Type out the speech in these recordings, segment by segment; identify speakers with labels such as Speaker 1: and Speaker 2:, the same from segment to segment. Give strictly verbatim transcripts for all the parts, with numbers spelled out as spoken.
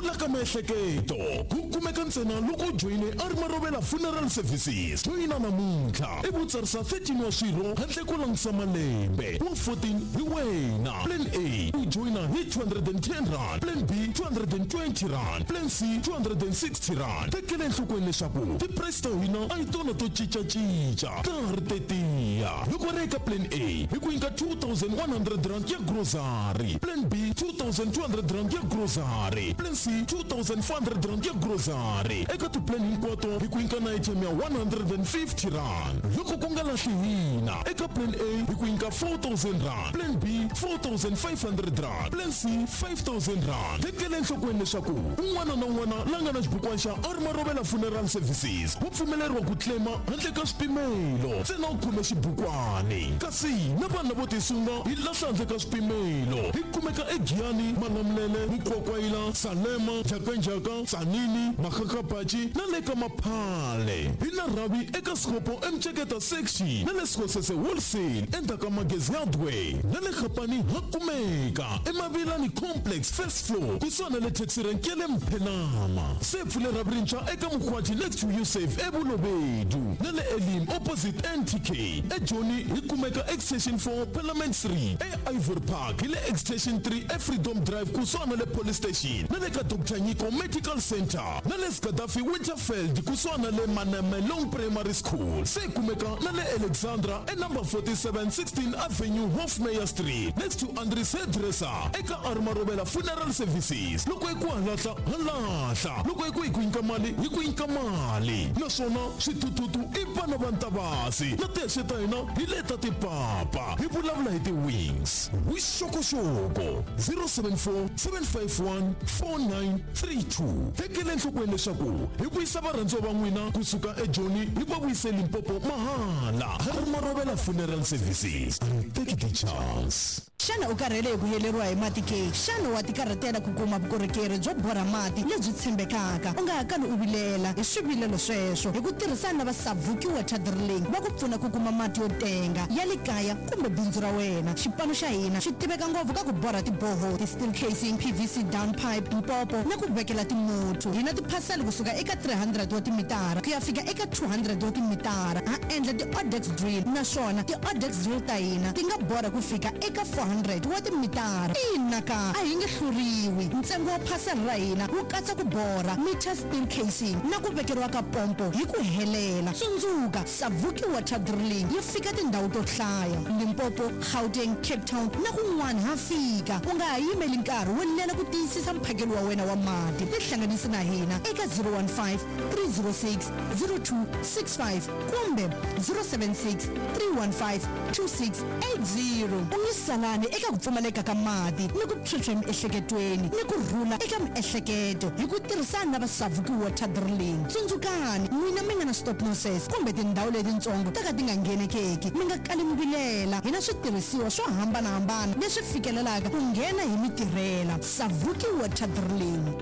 Speaker 1: rhula ka miehleketo ku kumeka ntsena loko u joyine R Marovela Funeral Services. Joyina namuntlha i vutsarisa thirteen wa swirho handle ko langutisa malembe wa fourteen hi wena. Plan A u joyina hi two hundred and ten rand, Plan B two hundred and twenty rand, Plan C two hundred and sixty rand. Tekela enhlokweni leswaku ti-price ta hina a hi tona to cincacinca, ta ha ri tetiya. Loko ri eka Plan A hi ku nyika two thousand one hundred rand ya grocery, Plan B two thousand two hundred rand ya grocery, Plan C two thousand four hundred rand ya grocery. Eka ti-plan hinkwato hi ku nyika na airtime ya one hundred and fifty rand. Loko ku nga lahli hina, eka Plan A hi ku nyika four thousand rand, Plan B four thousand five hundred rand, Plan C five thousand rand. Tekela enhlokweni leswaku un'wana na un'wana la nga na xibukwana xa R Marovela Funeral Services wa pfumeleriwa ku claima handle ka swipimelo, ntsena u khome xibukwani. Kasi na vanhu lavo tisunga hi lahla handle ka swipimelo. Hi kumeka eGiyani, Malamulele, Mukwakwayila, Salema, Njhakanjhaka, Tzaneen, Makgakgapatši na le ka Maphale. Hi na rhavi eka Sekgopo eMtsheketa section na le Sekgosese Wholesale endzhaku ka Magezi Hardware na le Gapani ha kumeka eMavilani Complex first floor kusuhani na le taxi rank ya le Mphenama. Se pfule rhavi rintshwa eka Mokgwathi next to Yusuf eBolobedu na le Elim opposite N T K. eJoni hi kumeka Extension four Parliament Street, e Ivory Park hi le Extension three eFreedom Drive kusuhani na le Police Station na le ka Doctor Nyiko Medical Center na le Gaddafi Winterfeld kusuhani na le Manamelong Primary School. Se kumeka na le Alexandra e number forty-seven sixteen Avenue Hofmeyr Street next to Andries Hairdresser. Eka R Marovela Funeral Services loko hi ku halahla halahla, loko hi ku hi ku nyika mali hi ku nyika mali. Naswona swithuthuthu i vana va Ntavasi na tihexe ta hina hi leta tipapa. Hi vulavula hi ti-wings. Vuxokoxoko zero seven four seven five one four nine three two. Tekela enhlokweni leswaku hi vuyisa varhandziwa va n'wina kusuka eJoni hi va vuyise Limpopo mahala. R Marovela Funeral Services, take the chance.
Speaker 2: Xana u karhele hi ku heleriwa hi mati ke? Xana wa tikarhatela ku kuma vukorhokeri byo borha mati lebyi tshembekaka? U nga ha kali u vilela hi swivilelo sweswo hi ku tirhisana na va Savuki Water Drilling va ku pfuna ku kuma mati yo tenga ya le kaya kumbe bindzu ra wena. Xipano xa hina xi tiveka ngopfu ka ku borha tiboho, ti-steel casing, P V C down pipe, mpopo na ku vekela timuthu. Hi na tiphasela kusuka eka three hundred wa timitara ku ya fika eka two hundred wa timitara. Ha endla ti-odex drill naswona ti-odex drill ta hina ti nga borha ku fika eka four hundred wa timitara. Ina ka a hi nge hluriwi. Ntsengo wa phasela ra hina wu katsa ku borha meter steel casing na ku vekeriwa ka pompo hi ku helela. Tsundzuka, Savuki Water Drilling yi fika tindhawu to hlaya: Limpopo, Gauteng, Cape Town na kun'wana ha fika. U nga ha yimeli nkarhi wo lela ku tiyisisa mphakelo wa wena wa mati. Tihlanganisi na hina eka zero one five three zero six zero two six five kumbe zero seven six three one five two six eight zero. U nge salani eka ku pfumaleka ka mati ni ku phyuphya emiehleketweni ni ku rhula eka miehleketo hi ku tirhisana na va Savuki Water Drilling. Tsundzukani, n'wina mi nga na stop losses kumbe tindhawu letitsongo ta ka ti nga nghenekeki, mi nga kali mi vilela. Hi na switirhisiwa swo hambanahambana leswi fikelelaka ku nghena hi mitirhela. Savuki Water Drilling.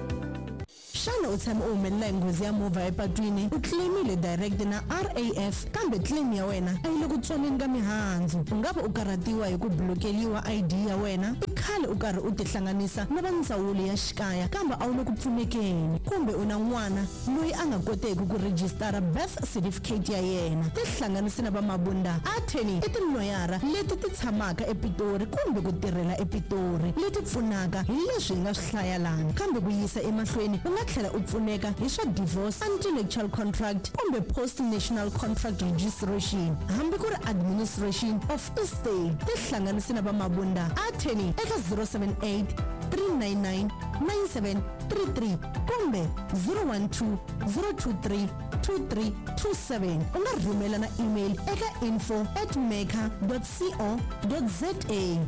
Speaker 2: Xana u tshame u humelela hi nghozi ya movha epatwini? U claimile direct na R A F kambe claim ya wena a yi le ku tswaleni ka mihandzu. U nga va u karhatiwa hi ku blokeliwa I D ya wena. I khale u karhi u tihlanganisa na va ndzawulo ya xikaya kambe a wu le ku pfunekeni, kumbe u na n'wana loyi a nga koteki ku rejistara birth certificate ya yena. Tihlanganisi na va Mabunda Attorney i tiloyara leti ti tshamaka ePitori kumbe ku tirhela ePitori leti pfunaka hi leswi hi nga swi hlaya lana. Kambe ku yisa emahlweni u nga tlhela u pfuneka hi swa divorce, anti-nuptial contract kumbe post-national contract registration, hambi ku ri administration of estate. Tihlanganisi na va Mabunda Attorney eka zero seven eight three nine nine nine seven three three kumbe zero one two zero two three two three two seven. U nga rhumela na email eka info at meka dot co dot za.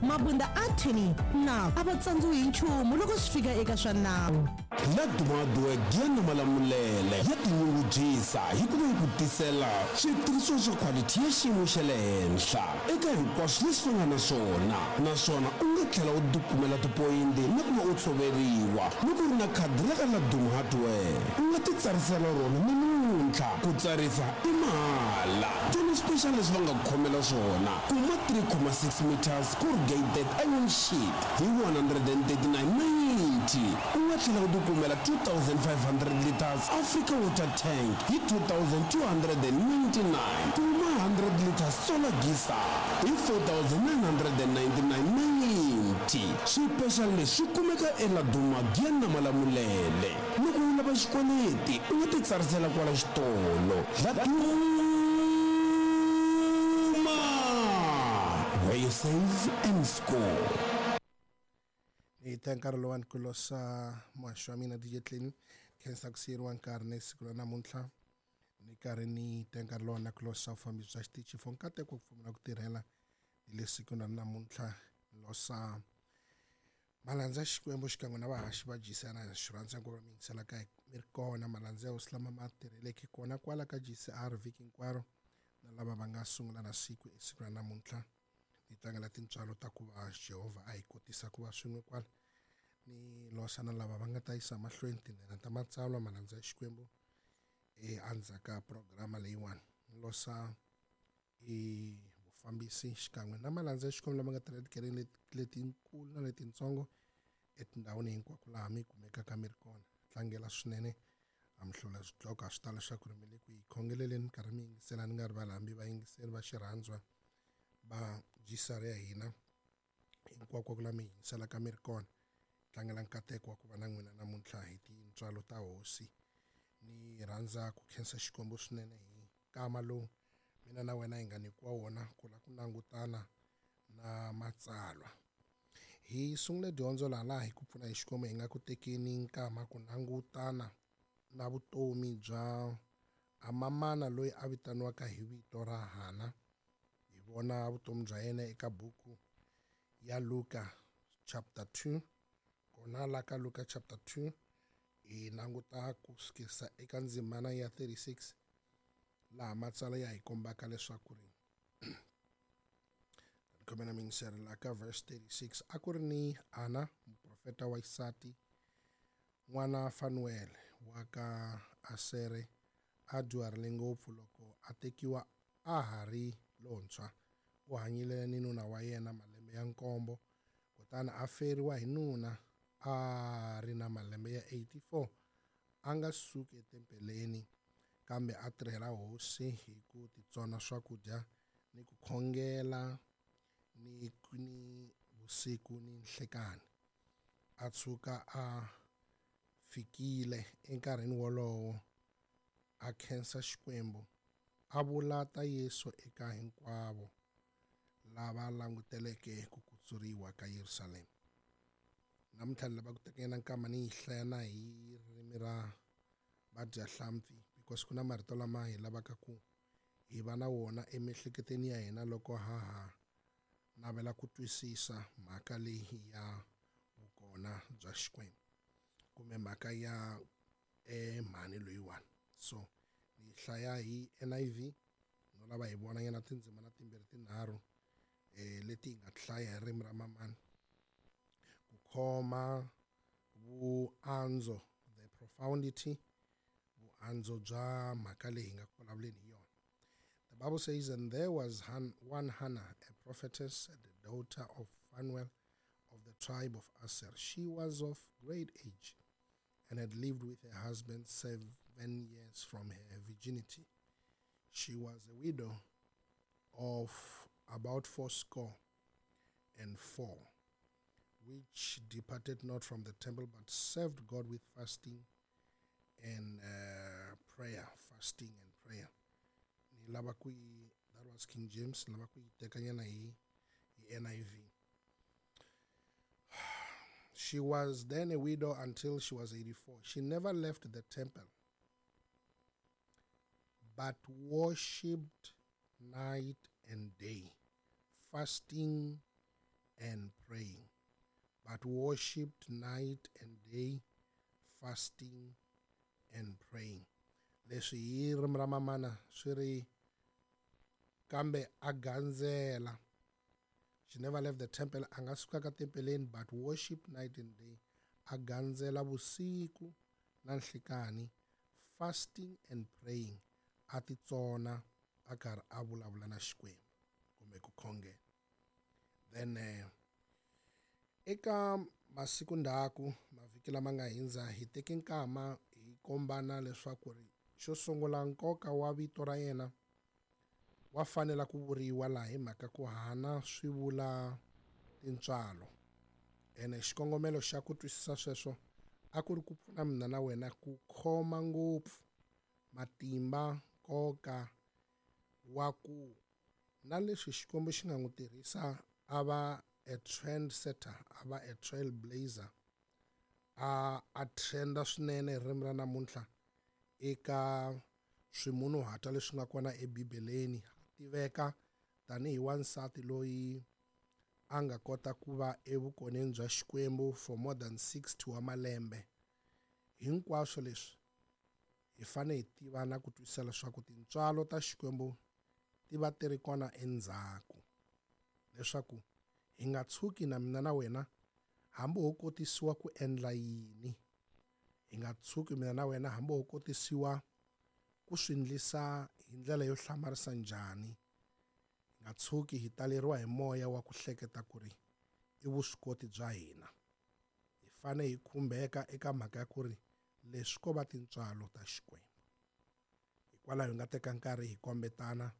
Speaker 2: Mabunda Attorney na a va tsandziwi hi nchumu loko swi fika eka swa nawu.
Speaker 3: Ladumadu Giyani Malamulele ya tinyungubyisa hi ku va yi ku tisela switirhisiwa swa quality ya xiyimo xa le henhla eka hinkwaswo leswi va nga na swona, naswona u nga tlhela u tikumela tipoyinti na ku va u tshoveriwa loko u ri na khadi ra ka Laduma Hardware. U nga titsarisela rona namuntlha, ku tsarisa i mahala. Tona special leswi va nga ku khomela swona, kuma three comma six meters corrugated iron sheet hi one hundred and thirty-nine ninety. U nga U nga tlhela u tikumela two thousand five hundred liters Africa Water Tank hi two thousand two hundred and ninety-nine. Kuma hundred liters solar geyser hi four thousand nine hundred and ninety-nine ninety. Swipexali leswi swi kumeka eLaduma Giyani na Malamulele. Loko u lava xikweleti u nga titsarisela kwala xitolo. Laduma, where you save and score.
Speaker 4: Hi ta nkarhi lowani ku losa muhaxi wa mina D J Clean khensa ku siyeriwa nkarhi na siku ra namuntlha ni karhi ni ta nkarhi lowani na ku losa vufambisi bya xitichi for nkateko ku pfumela ku tirhela hi le siku ra namuntlha losa malandza ya Xikwembu xikan'we na vahaxi va G C R na xi rhandza ku va mi yingisela ka mi ri kona malandza ya hosi lama ma tirheleke kona kwala ka G C R vhiki hinkwaro na lava va nga sungula na siku esiku ra namuntlha ni tlangela tintswalo ta ku va Jehovha a hi kotisa ku va swin'we kwala ni losa na lava va nga ta yisa mahlweni tindlela ta matsalwa malandza ya Xikwembu endzhaku ka programa leyiwani ni losa e vufambisi xikan'we na malandza ya Xikwembu lama nga tirha etikerekeni letinkulu na letitsongo etindhawini hinkwako laha mi kumekaka mi ri kona tlangela swinene a mi hlula swidloko a swi tala leswaku ri mi le ku yi khongeleleni minkarhi mi yingisela ni nga rivali hambi vayingiseri va xirhandzwa va G C R ya hina hinkwako la mi yingiselaka mi ri kona tlangela nkateko wa ku va na n'wina namuntlha hi tintswalo ta hosi ni rhandza ku khensa Xikwembu swinene hi nkama lowu mina na wena hi nga nyikiwa wona ku la ku langutana na matsalwa hi sungule dyondzo laha laha hi ku pfuna hi Xikwembu hi nga ku tekeni nkama ku langutana na vutomi bya amamana loyi a vitaniwaka hi vito ra Hana hi vona vutomi bya yena eka buku ya Luka chapter two kona la ka Luka chapter two hi languta ku sukisa eka ndzimana ya thirty-six laha matsalwa ya hi kombaka leswaku ri khomena mingiseri la ka verse thirty-six a ku ri ni Ana muprofeta wa xisati n'wana Fanuel wa ka Asere a dyuharile ngopfu loko a tekiwa a ha ri lontshwa u hanyile ni nuna wa yena malembe ya nkombo kutani a feriwa hi nuna a ri na malembe ya eighty-four a nga suki etempeleni kambe a tirhela hosi hi ku titsona swakudya ni ku khongela ni ni vusiku ni nhlekani a tshuka a fikile enkarhini wolowo a khensa Xikwembu a vula ta Yesu eka hinkwavo lava languteleke ku kutsuriwa ka Yerusalema namuntlha ni lava ku tekela nkama ni yi hlaya na hi ririmi ra vadyahlampfi because ku na marito lama hi lavaka ku hi va na wona emiehleketweni ya hina loko ha ha navela ku twisisa mhaka leyi ya vukona bya Xikwembu kumbe mhaka ya mhani loyiwani so ni hlaya hi N I V no lava hi vona nyana tindzimana timbirhi tinharhu eh leti hi nga hlaya hi ririmi ra mamani ku khoma vuandzo the profundity vuandzo bya mhaka leyi hi nga ku vulavuleni hi yona. The Bible says, and there was Han, one Hannah, a prophetess, the daughter of Phanuel of the tribe of Aser. She was of great age and had lived with her husband seven years from her virginity. She was a widow of about fourscore and four, which departed not from the temple, but served God with fasting and uh, prayer, fasting and prayer. That was King James. N I V. She was then a widow until she was eighty-four. She never left the temple, but worshipped night and day, fasting and praying. But worshipped night and day, fasting and praying. Leswi hi ririmi ra mamana swi ri kambe a gandzela. She never left the temple, a nga suka ka tempeleni, but worship night and day, a gandzela vusiku na nhlikani, fasting and praying, a titsona a karhi a vulavula na Xikwembu kumbe ku khongela. Then uh, eka Masiku ndzhaku mavhiki lama nga hindza hi teke nkama hi kombana leswaku ri xo sungula nkoka wa vito ra yena wa fanela ku vuriwa laha hi mhaka ku Hana swi vula tintswalo. Ene xikongomelo xa ku twisisa sweswo a ku ri ku pfuna mina na wena ku khoma ngopfu matimba nkoka wa ku na leswi Xikwembu xi nga n'wi tirhisa a va a trendsetter, a va a trailblazer, a a trenda swinene hi ririmi ra namuntlha eka swimunhuhatwa leswi nga kona eBibeleni. A tiveka tanihi wansati loyi a nga kota ku va evukoneni bya Xikwembu for more than sixty wa malembe. Hinkwaswo leswi hi fanele hi tiva na ku twisisa leswaku tintswalo ta Xikwembu ti va ti ri kona endzhaku, leswaku hi nga tshuki na mina na wena hambi ho kotisiwa ku endla yini, hi nga tshuki mina na wena hambi ho kotisiwa ku swi endlisa hi ndlela yo hlamarisa njhani, hi nga tshuki hi taleriwa hi moya wa ku hleketa ku ri i vuswikoti bya hina. Hi fanele hi khumbeka eka mhaka ya ku ri leswi ko va tintswalo ta Xikwembu. Hikwalaho hi nga teka nkarhi hi kombetana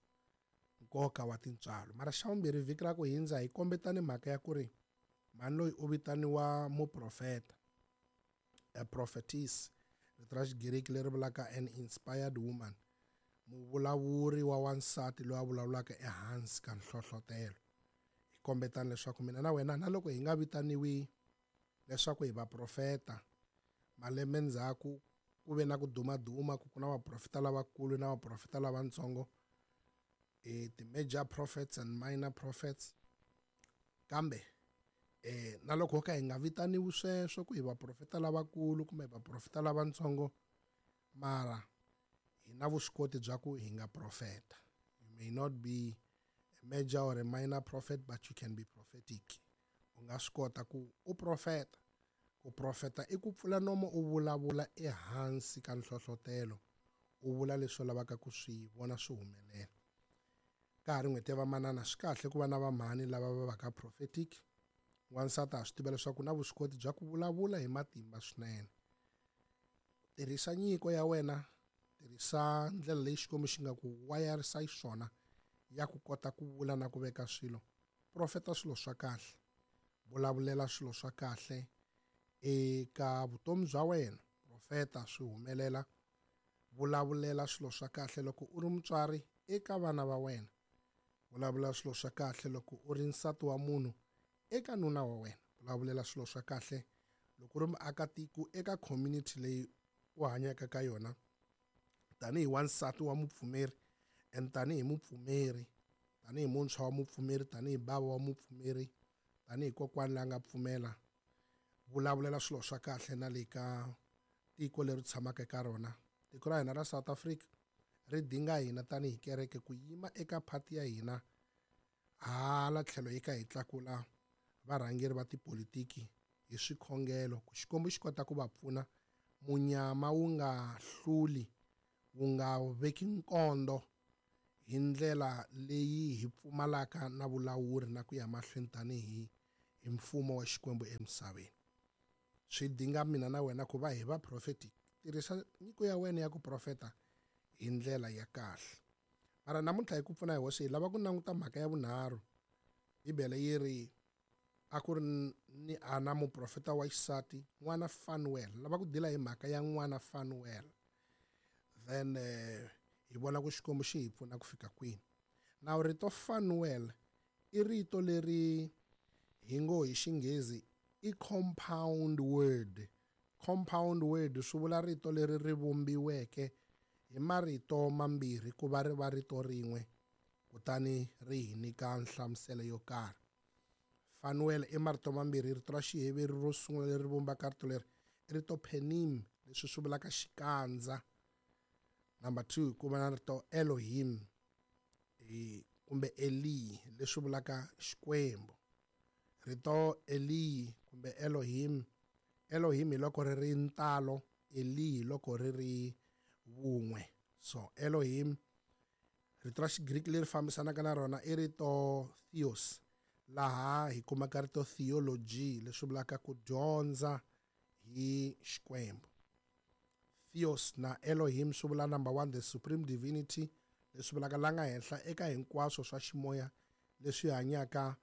Speaker 4: nkoka wa tintswalo. Mara xa vumbirhi vhiki ra ku hindza hi kombetane mhaka ya ku ri mhani loyi u vitaniwa muprofeta, a prophetess, rito ra Xigiriki leri vulaka an inspired woman, muvulavuri wa wansati loyi a vulavulaka ehansi ka nhlohlotelo. Hi kombetana leswaku mina na wena na loko hi nga vitaniwi leswaku hi vaprofeta, malembe ndzhaku ku ve na ku dumaduma ku ku na vaprofeta lavakulu na vaprofeta lavatsongo, eh, ti-major prophets and minor prophets. Kambe eh, na loko ho ka hi nga vitaniwi sweswo ku hi vaprofeta lavakulu kumbe vaprofeta lavatsongo, mara hi na vuswikoti bya ku hi nga profeta. You may not be a major or a minor prophet, but you can be prophetic. U nga swi kota ku u profeta. Ku profeta i ku pfula nomo u vulavula ehansi ka nhlohlotelo, u vula leswi u lavaka ku swi vona swi humelela. Ka ha ri n'hweti ya vamanana, swi kahle ku va na vamhani lava va vaka prophetic. Wansati ha swi tiva leswaku na vuswikoti bya ku vulavula hi matimba swinene. Tirhisa nyiko ya wena, tirhisa ndlela leyi Xikwembu xi nga ku wayarisa xiswona ya ku kota ku vula na ku veka swilo. Profeta swilo swa kahle, vulavulela swilo swa kahle eka vutomi bya wena. Profeta swi humelela, vulavulela swilo swa kahle loko u ri mutswari eka vana va wena, vulavula swilo swa kahle loko u ri nsati wa munhu eka nuna wa wena, vulavulela swilo swa kahle loko u ri muakatiko eka community leyi u hanyaka ka yona tanihi wansati wa mupfumeri and tanihi mupfumeri, tanihi muntshwa wa mupfumeri, tanihi bava wa mupfumeri, tanihi kokwani la nga pfumela. Vulavulela swilo swa kahle na le ka tiko leri tshamaka eka rona. Tiko ra hina ra South Africa ri dinga hina tanihi kereke ku yima eka phati ya hina hala tlhelo yi ka hi tlakula varhangeri va tipolitiki hi swikhongelo ku Xikwembu xi kota ku va pfuna munyama wu nga hluli, wu nga veki nkondo hi ndlela leyi hi pfumalaka na vulawuri na ku ya mahlweni tanihi hi mfumo wa Xikwembu emisaveni. Swi dinga mina na wena ku va hi va prophetic. Tirhisa nyiko ya wena ya ku profeta hi ndlela ya kahle. Mara namuntlha hi ku pfuna hi hosi hi lava ku languta mhaka ya vunharhu. Bibele yi ri a ku ri ni Ana muprofeta wa xisati n'wana Fanuel. Lava ku dila hi mhaka ya n'wana Fanuel. Then eh, hi vona ku Xikwembu xi hi pfuna ku fika kwini. Now rito Fanuel i rito leri hi ngo hi Xinghezi i compound word. Compound word swi vula rito leri ri vumbiweke hi marito mambirhi ku va ri va rito rin'we kutani ri hi nyika nhlamuselo yo karhi. Fanuel i marito mambirhi, rito ra Xiheveri ro sungula leri vumbaka rito leri i rito penim, leswi swi vulaka xikandza. Number two ku va na rito Elohim kumbe Eli leswi vulaka Xikwembu. Rito Eli kumbe Elohim, Elohim hi loko ri ri ntalo, Eli hi loko ri ri vun'we. So Elohim, rito ra Xigriki leri fambisanaka na rona i rito Theos, Laha hi kumaka rito theology leswi vulaka ku dyondza hi Xikwembu. Theos na Elohim swi vula number one, the supreme divinity, leswi vulaka la nga henhla eka hinkwaswo swa ximoya leswi hanyaka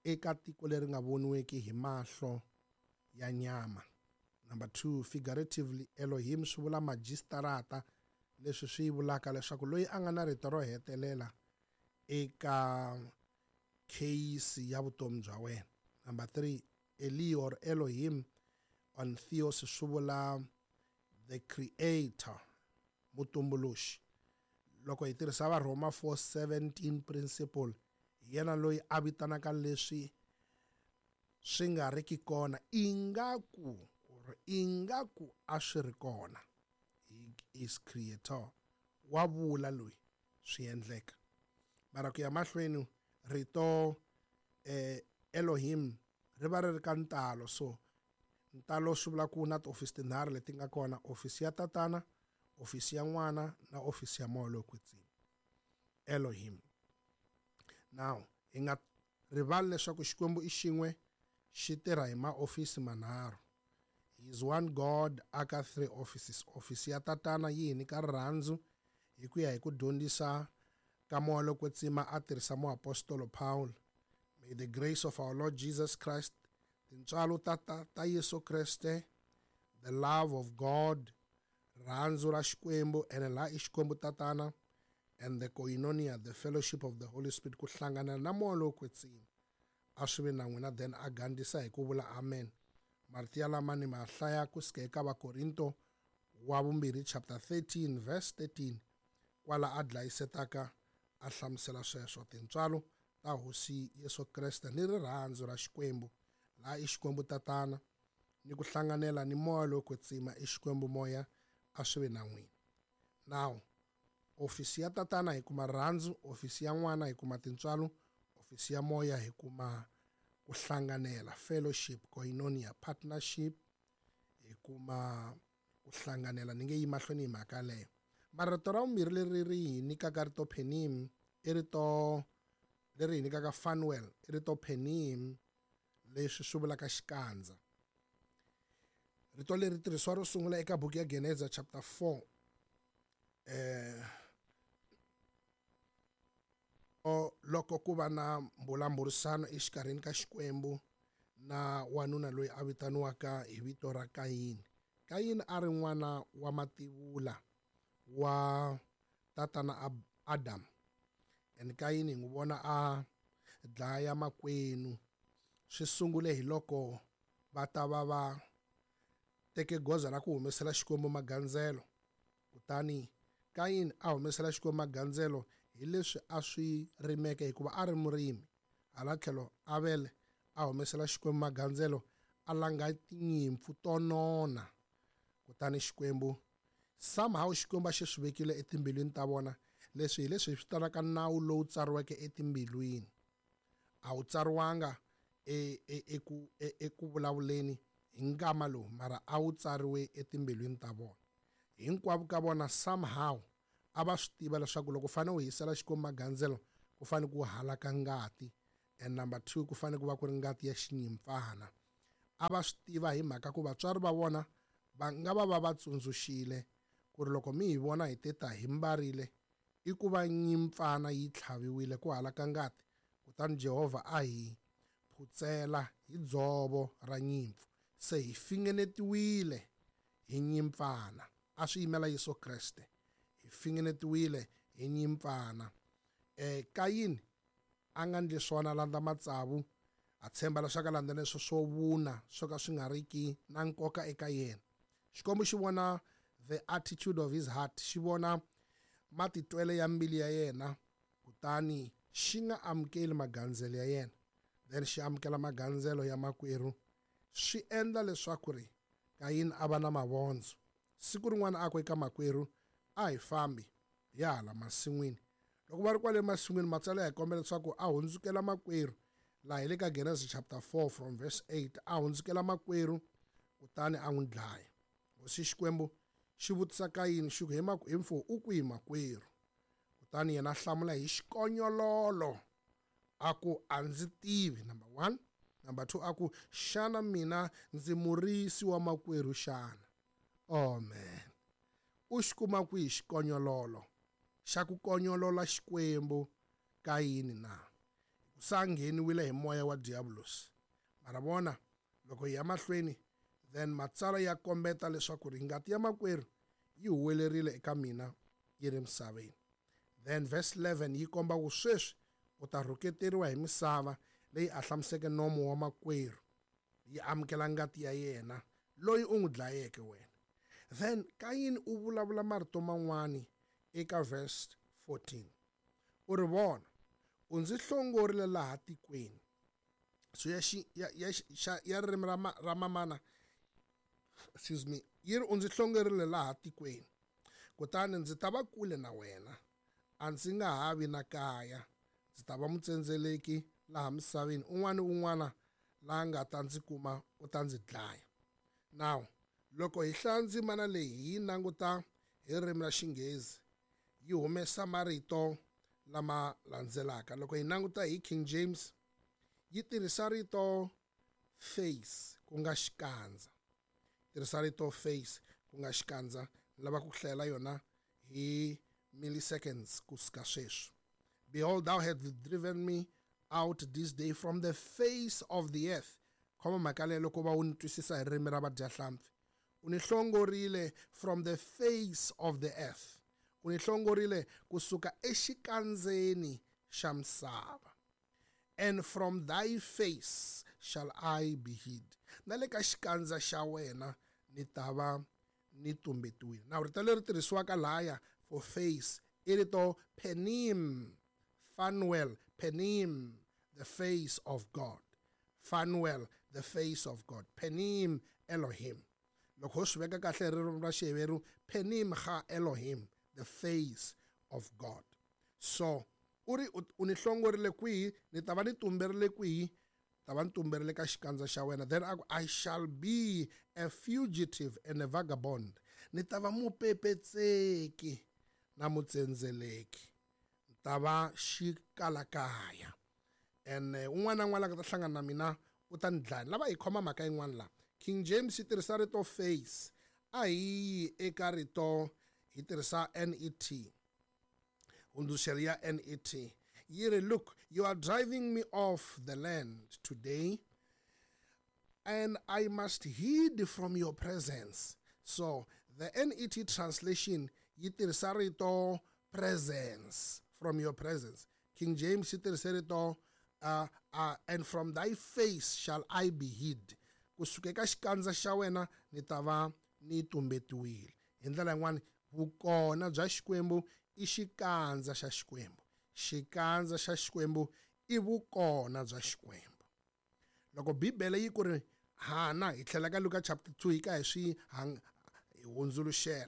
Speaker 4: eka tiko leri nga voniweki hi mahlo ya nyama. Number two, figuratively, Elohim swi vula majistarata, leswi swi vulaka leswaku loyi a nga na rito ro hetelela eka case ya vutomi bya wena. Number three, Eli or Elohim on Theos swi vula the creator, mutumbuluxi. Loko hi tirhisa va Roma four seventeen principle, hi yena loyi a vitanaka leswi swi nga riki kona ingaku or ingaku a swi ri kona. He is creator, wa vula loyi swi endleka. Mara ku ya mahlweni rito eh, Elohim ri va ri ri ka ntalo. So ntalo swi vula ku na tiofisi tinharhu leti nga kona: ofisi ya tatana, ofisi ya n'wana na ofisi ya moya lowo kwetsima, Elohim. Now hi nga rivali leswaku Xikwembu i xin'we, xi tirha hi maofisi manharhu. He is one God aka three offices. Ofisi ya tatana yi hi nyika rirhandzu hi ku ya hi ku dyondzisa ka moya lowo kwetsima a tirhisa muapostolo Paul. May the grace of our Lord Jesus Christ, tintswalo ta, ta, ta Yesu Kreste, the love of God, rirhandzu ra Xikwembu, ene laha i Xikwembu tatana, and the koinonia, the fellowship of the Holy Spirit, ku hlangana na moya lowo kwetsima, a swi ve na n'wina. Then a gandlisa hi ku vula amen. Marito ya lama ni ma hlaya kusuka eka Vakorinto wa vumbirhi chapter thirteen verse thirteen, kwala a dlayisetaka a hlamusela sweswo. Tintswalo ta Hosi Yesu Kreste ni rirhandzu ra Xikwembu, laha i Xikwembu tatana, ni ku hlanganela ni moya lowo kwetsima i Xikwembu moya, a swi ve na n'wina. Now ofisi ya tatana hi kuma rirhandzu, ofisi ya n'wana hi kuma tintswalo, ofisi ya moya hi kuma ku hlanganela, fellowship, koinonia, partnership, hi kuma ku hlanganela. Ni nge yi mahlweni hi mhaka leyo. Mara rito ra vumbirhi leri ri hi nyikaka rito penim i rito leri hi nyikaka Fanuel, i rito penim leswi swi vulaka xikandza. Rito leri tirhisiwa ro sungula eka buku ya Geneza chapter four. Eh loko ku va na mbulavurisano exikarhini ka Xikwembu na wanuna loyi a vitaniwaka hi vito ra Kayini. Kayini a ri n'wana wa mativula wa tatana Adam. And Kayini hi n'wi vona a dlaya makwenu. Swi sungule hi loko va ta va va teke goza ra ku humesela Xikwembu magandzelo. Kutani Kayini a humesela Xikwembu magandzelo hi leswi a swi rimeke hikuva a ri murimi. Hala tlhelo Avele a humesela Xikwembu magandzelo a langa tinyimpfu to nona. Kutani Xikwembu somehow Xikwembu a xi swi vekile etimbilwini ta vona. Leswi hi leswi hi swi vitanaka nawu lowu tsariweke etimbilwini. A wu tsariwanga eku eku vulavuleni hi nkama lowu, mara a wu tsariwe etimbilwini ta vona. Hinkwavo ka vona somehow a va swi tiva leswaku loko u fanele u hisela Xikwembu magandzelo ku fanele ku halaka ngati, and number two ku fanele ku va ku ri ngati ya xinyimpfana. A va swi tiva hi mhaka ku vatswari va vona va nga va va va tsundzuxile ku ri loko mi hi vona hi teta hi mbarile i ku va nyimpfana yi tlhaviwile ku halaka ngati, kutani Jehovha a hi phutsela hi dzovo ra nyimpfu, se hi fingenetiwile hi nyimpfana. A swi yimela Yesu Kreste, hi fingenetiwile hi nyimpfana. Eh Kayini a nga ndli swona, a landza matsavu, a tshemba leswaku a landza leswo swo vuna swo ka swi nga riki na nkoka eka yena. Xikwembu xi vona the attitude of his heart, xi vona matitwele ya mbilu ya yena, kutani xi nga amukeli magandzelo ya yena, then xi amukela magandzelo ya makwerhu. Swi endla leswaku ri Kayini a va na mavondzo. Siku rin'wana a ku eka makwerhu, a hi fambi hi ya hala masin'wini. Loko va ri kwale masin'wini, matsalwa ya hi kombela leswaku a hundzukela makwerhu. Laha hi le ka Genesis chapter four from verse eight, a hundzukela makwerhu kutani a n'wi dlaya. Hosi Xikwembu xi vutisa Kayini xi ku, hi mfo u kwihi makwerhu? Kutani yena a hlamula hi xikonyololo, A ku a ndzi tivi, number one. Number two, a ku xana mina ndzi murisi wa makwerhu xana? Oh man, u xi kuma kwihi xikonyololo xa ku konyolola Xikwembu ka yini na? Sa ngheniwile hi moya wa diabolos. Mara vona loko hi ya mahlweni, then matsalwa ya kombeta leswaku ri ngati ya makwerhu yi huwelerile eka mina yi ri misaveni. Then verse eleven yi komba ku sweswi u ta rhuketeriwa hi misava leyi ahlamiseke nomo wa makwerhu, yi amukela ngati ya yena loyi u n'wi dlayeke wena. Then Kayini u vulavula marito man'wani eka verse fourteen. U ri vona, u ndzi hlongorile laha tikweni. So ya xi, ya, ya, xa, ya ririmi ra ma, ra mamana, excuse me, yi ri u ndzi hlongorile laha tikweni, kutani ndzi ta va kule na wena, a ndzi nga ha vi na kaya, ndzi ta va mutsendzeleki laha misaveni, un'wana ni un'wana la nga ta ndzi kuma u ta ndzi dlaya. Now loko hi hlaya ndzimana leyi hi languta hi ririmi ra Xinghezi, yi humesa marito lama landzelaka. Loko hi languta hi King James, yi tirhisa rito face ku nga xikandza. Tirhisa rito face ku nga xikandza, ni lava ku hlayela yona hi milliseconds kusuka sweswi. Behold, thou hast driven me out this day from the face of the earth. Khoma mhaka leyi loko va u ni twisisa hi ririmi ra vadyahlampfi. U ni hlongorile from the face of the earth. U ni hlongorile kusuka exikandzeni xa misava. And from thy face shall I be hid. Na le ka xikandza xa wena ni ta va ni tumbetiwile. Now rito leri tirhisiwaka laya for face i rito penim, Phanuel, penim, the face of God. Phanuel, the face of God. Penim Elohim. Loko ho swi veka kahle ririmi ra Xiheveru, penim ha Elohim, the face of God. So u ri u ni hlongorile kwihi, ni ta va ni tumberile kwihi, ta va ni tumberile ka xikandza xa wena. Then a ku, I shall be a fugitive and a vagabond. Ni ta va mupepetseki na mutsendzeleki, ni ta va xikalakaya. And un'wana na un'wana la nga ta hlangana na mina u ta ni dlaya. Lava hi khoma mhaka yin'wana la, King James yi tirhisa rito face, a hi yi eka rito hi tirhisa N E T, hundzuluxelo ya N E T. Yi ri, look, you are driving me off the land today, and I must hid from your presence. So the N E T translation yi tirhisa rito presence, from your presence. King James yi tirhisa rito uh, uh, and from thy face shall I be hid. Kusuka eka xikandza xa wena ni ta va ni tumbetiwile. Hi ndlela yin'wana, vukona bya Xikwembu i xikandza xa Xikwembu. Xikandza xa Xikwembu i vukona bya Xikwembu. Loko Bibele yi ku ri Hana, hi tlhela ka Luka chapter two hi ka hi swi hundzuluxela.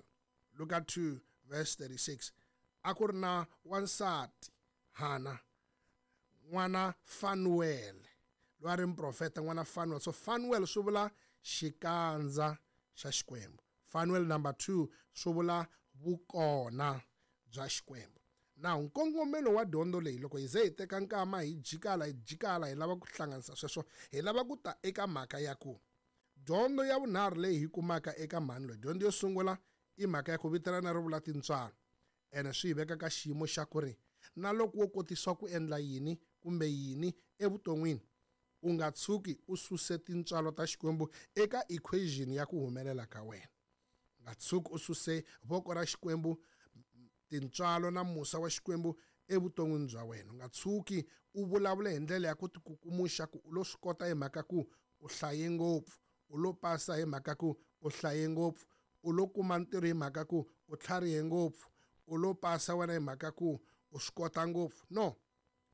Speaker 4: Luka two verse thirty-six. A ku ri na wansati Hana, n'wana Fanuel, loyi a ri muprofeta, n'wana Fanuel. So Fanuel swi vula xikandza xa Xikwembu. Fanuel number two swi vula vukona bya Xikwembu. Now nkongomelo wa dyondzo leyi, loko hi ze hi teka nkama hi jikala hi jikala hi lava ku hlanganisa sweswo, hi lava ku ta eka mhaka ya ku dyondzo ya vunharhu leyi hi kumaka eka mhani loyi. Dyondzo yo sungula i mhaka ya ku vitanana ri vula tintswalo, ene swi hi veka ka xiyimo xa ku ri na loko wo kotisiwa ku endla yini kumbe yini evuton'wini, u nga tshuki u suse tintswalo ta Xikwembu eka equation ya ku humelela ka wena. U nga tshuki u suse voko ra Xikwembu, tintswalo na musa wa Xikwembu evuton'wini bya wena. U nga tshuki u vulavula hi ndlela ya ku tikukumuxa ku u lo swi kota hi mhaka ku u hlaye ngopfu, u lo pasa hi mhaka ku u hlaye ngopfu, u lo kuma ntirho hi mhaka ku u tlharihe ngopfu, u lo pasa wena hi mhaka ku u swi kota ngopfu. No,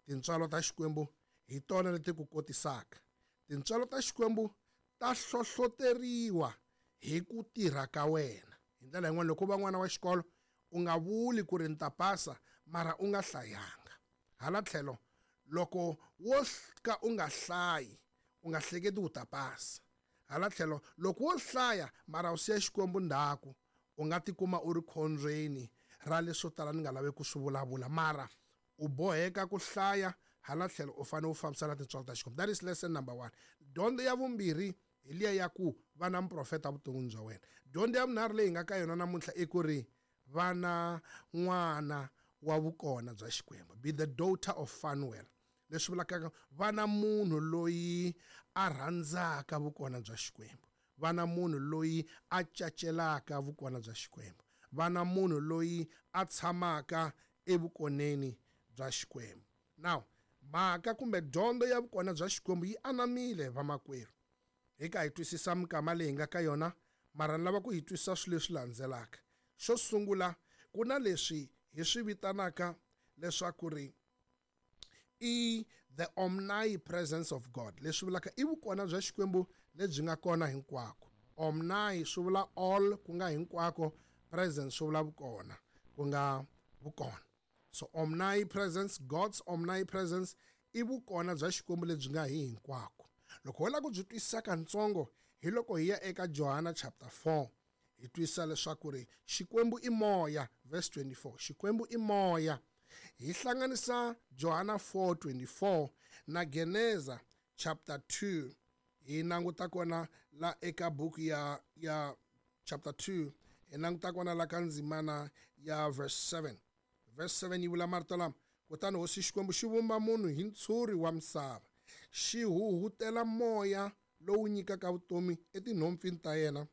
Speaker 4: tintswalo ta Xikwembu hi tona leti ku kotisaka. Tintswalo ta Xikwembu ta hlohloteriwa hi ku tirha ka wena. Hi ndlela yin'wana, loko u va n'wana wa xikolo, u nga vuli ku ri ni ta pasa mara u nga hlayanga. Hala tlhelo, loko wo ka u nga hlayi, u nga hleketi u ta pasa. Hala tlhelo, loko wo hlaya mara u siya Xikwembu ndzhaku, u nga tikuma u ri khombyeni ra leswo tala ni nga lavi ku swi vulavula, mara u boheka ku hlaya Hala tlhelo u fanele u fambisa na tintswalo ta Xikwembu. That is lesson number one. Dyondzo ya vumbirhi hi liya ya ku va na muprofeta vuton'wini bya wena. Dyondzo ya vunharhu leyi hi nga ka yona namuntlha i ku ri va na n'wana wa vukona bya Xikwembu. Be the daughter of Fanuel. Leswi vulaka va na munhu loyi a rhandzaka vukona bya Xikwembu. Va na munhu loyi a cacelaka vukona bya Xikwembu. Va na munhu loyi a tshamaka evukoneni bya Xikwembu. Now, mhaka kumbe dyondzo ya vukona bya Xikwembu yi anamile vamakwerhu. Hi ka hi twisisa mikama leyi hi nga ka yona, mara ni lava ku hi twisisa swilo leswi landzelaka. Xo sungula, ku na leswi hi swi vitanaka leswaku ri i the omnipresence of God. Leswi vulaka i vukona bya Xikwembu lebyi nga kona hinkwako. Omni swi vula all, ku nga hinkwako, presence swi vula vukona, ku nga vukona. So omnipresence, God's omnipresence i vukona bya Xikwembu lebyi nga hi hinkwako. Loko ho lava ku byi twisisa katsongo, hi loko hi ya eka Johana chapter four, hi twisisa leswaku ri Xikwembu i moya, verse twenty-four. Xikwembu i moya. Hi hlanganisa Johana four twenty-four na Geneza chapter two. Hi languta kona la eka buku ya, ya chapter two, hi languta kona la ka ndzimana ya verse seven. Verse seven yi vula marito lama: kutani hosi Xikwembu xi vumba munhu hi ntshuri wa misava, xi huhutela moya lowu nyikaka vutomi etinhompfini ta yena,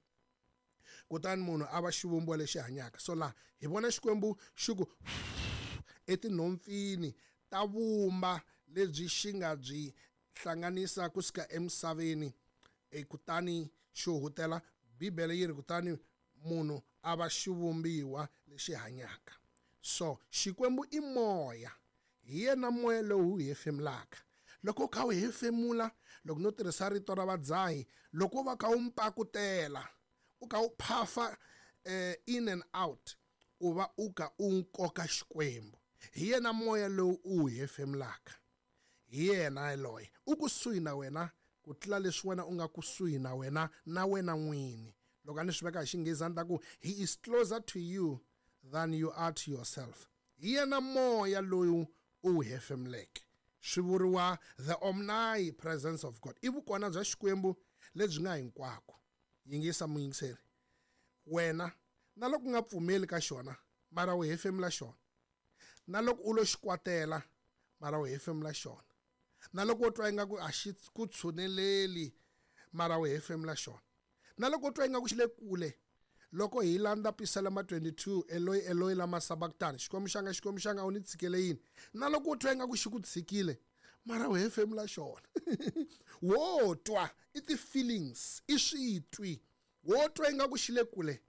Speaker 4: kutani munhu a va xivumbiwa lexi hanyaka. So laha hi vona Xikwembu xi ku etinhompfini ta vumba lebyi xi nga byi hlanganisa kusuka emisaveni, e kutani xi huhutela. Bibele yi ri kutani munhu a va xivumbiwa lexi hanyaka. So Xikwembu i moya, hi yena moya lowu hi hefemulaka. Loko u kha u hefemula, loko no tirhisa rito ra vadzahi, loko va kha u mpakutela, u kha u phafa eh, in and out, u va u kha u nkoka Xikwembu. Hi yena moya lowu u hefemulaka, hi yena loyi u kusuhi na wena ku tlula leswi wena u nga kusuhi na wena na wena n'wini. Loko a ni swi veka hi Xinghezi a ni ta ku he is closer to you than you are to yourself. Hi yena moya lowu u hefemuleke. Swi vuriwa the omnipresence of God. I vukona bya Xikwembu lebyi nga hinkwako. Yingisa muyingiseri, wena na loko u nga pfumeli ka xona, mara u hefemula xona. Na loko u lo xikwatela, mara u hefemula xona. Na loko u twa ingaku a xi ku tshuneleli, mara u hefemula xona. Na loko u twa ingaku xi le kule, loko hi landza Pisalema twenty-two, Eloi Eloi lama sabachthani, Xikwembu xanga Xikwembu xanga u ni tshikele yini? Na loko u twa ingaku xi ku tshikile, mara u hefemula xona. Wo twa i ti-feelings, i switwi. Wo twa ingaku xi le kule,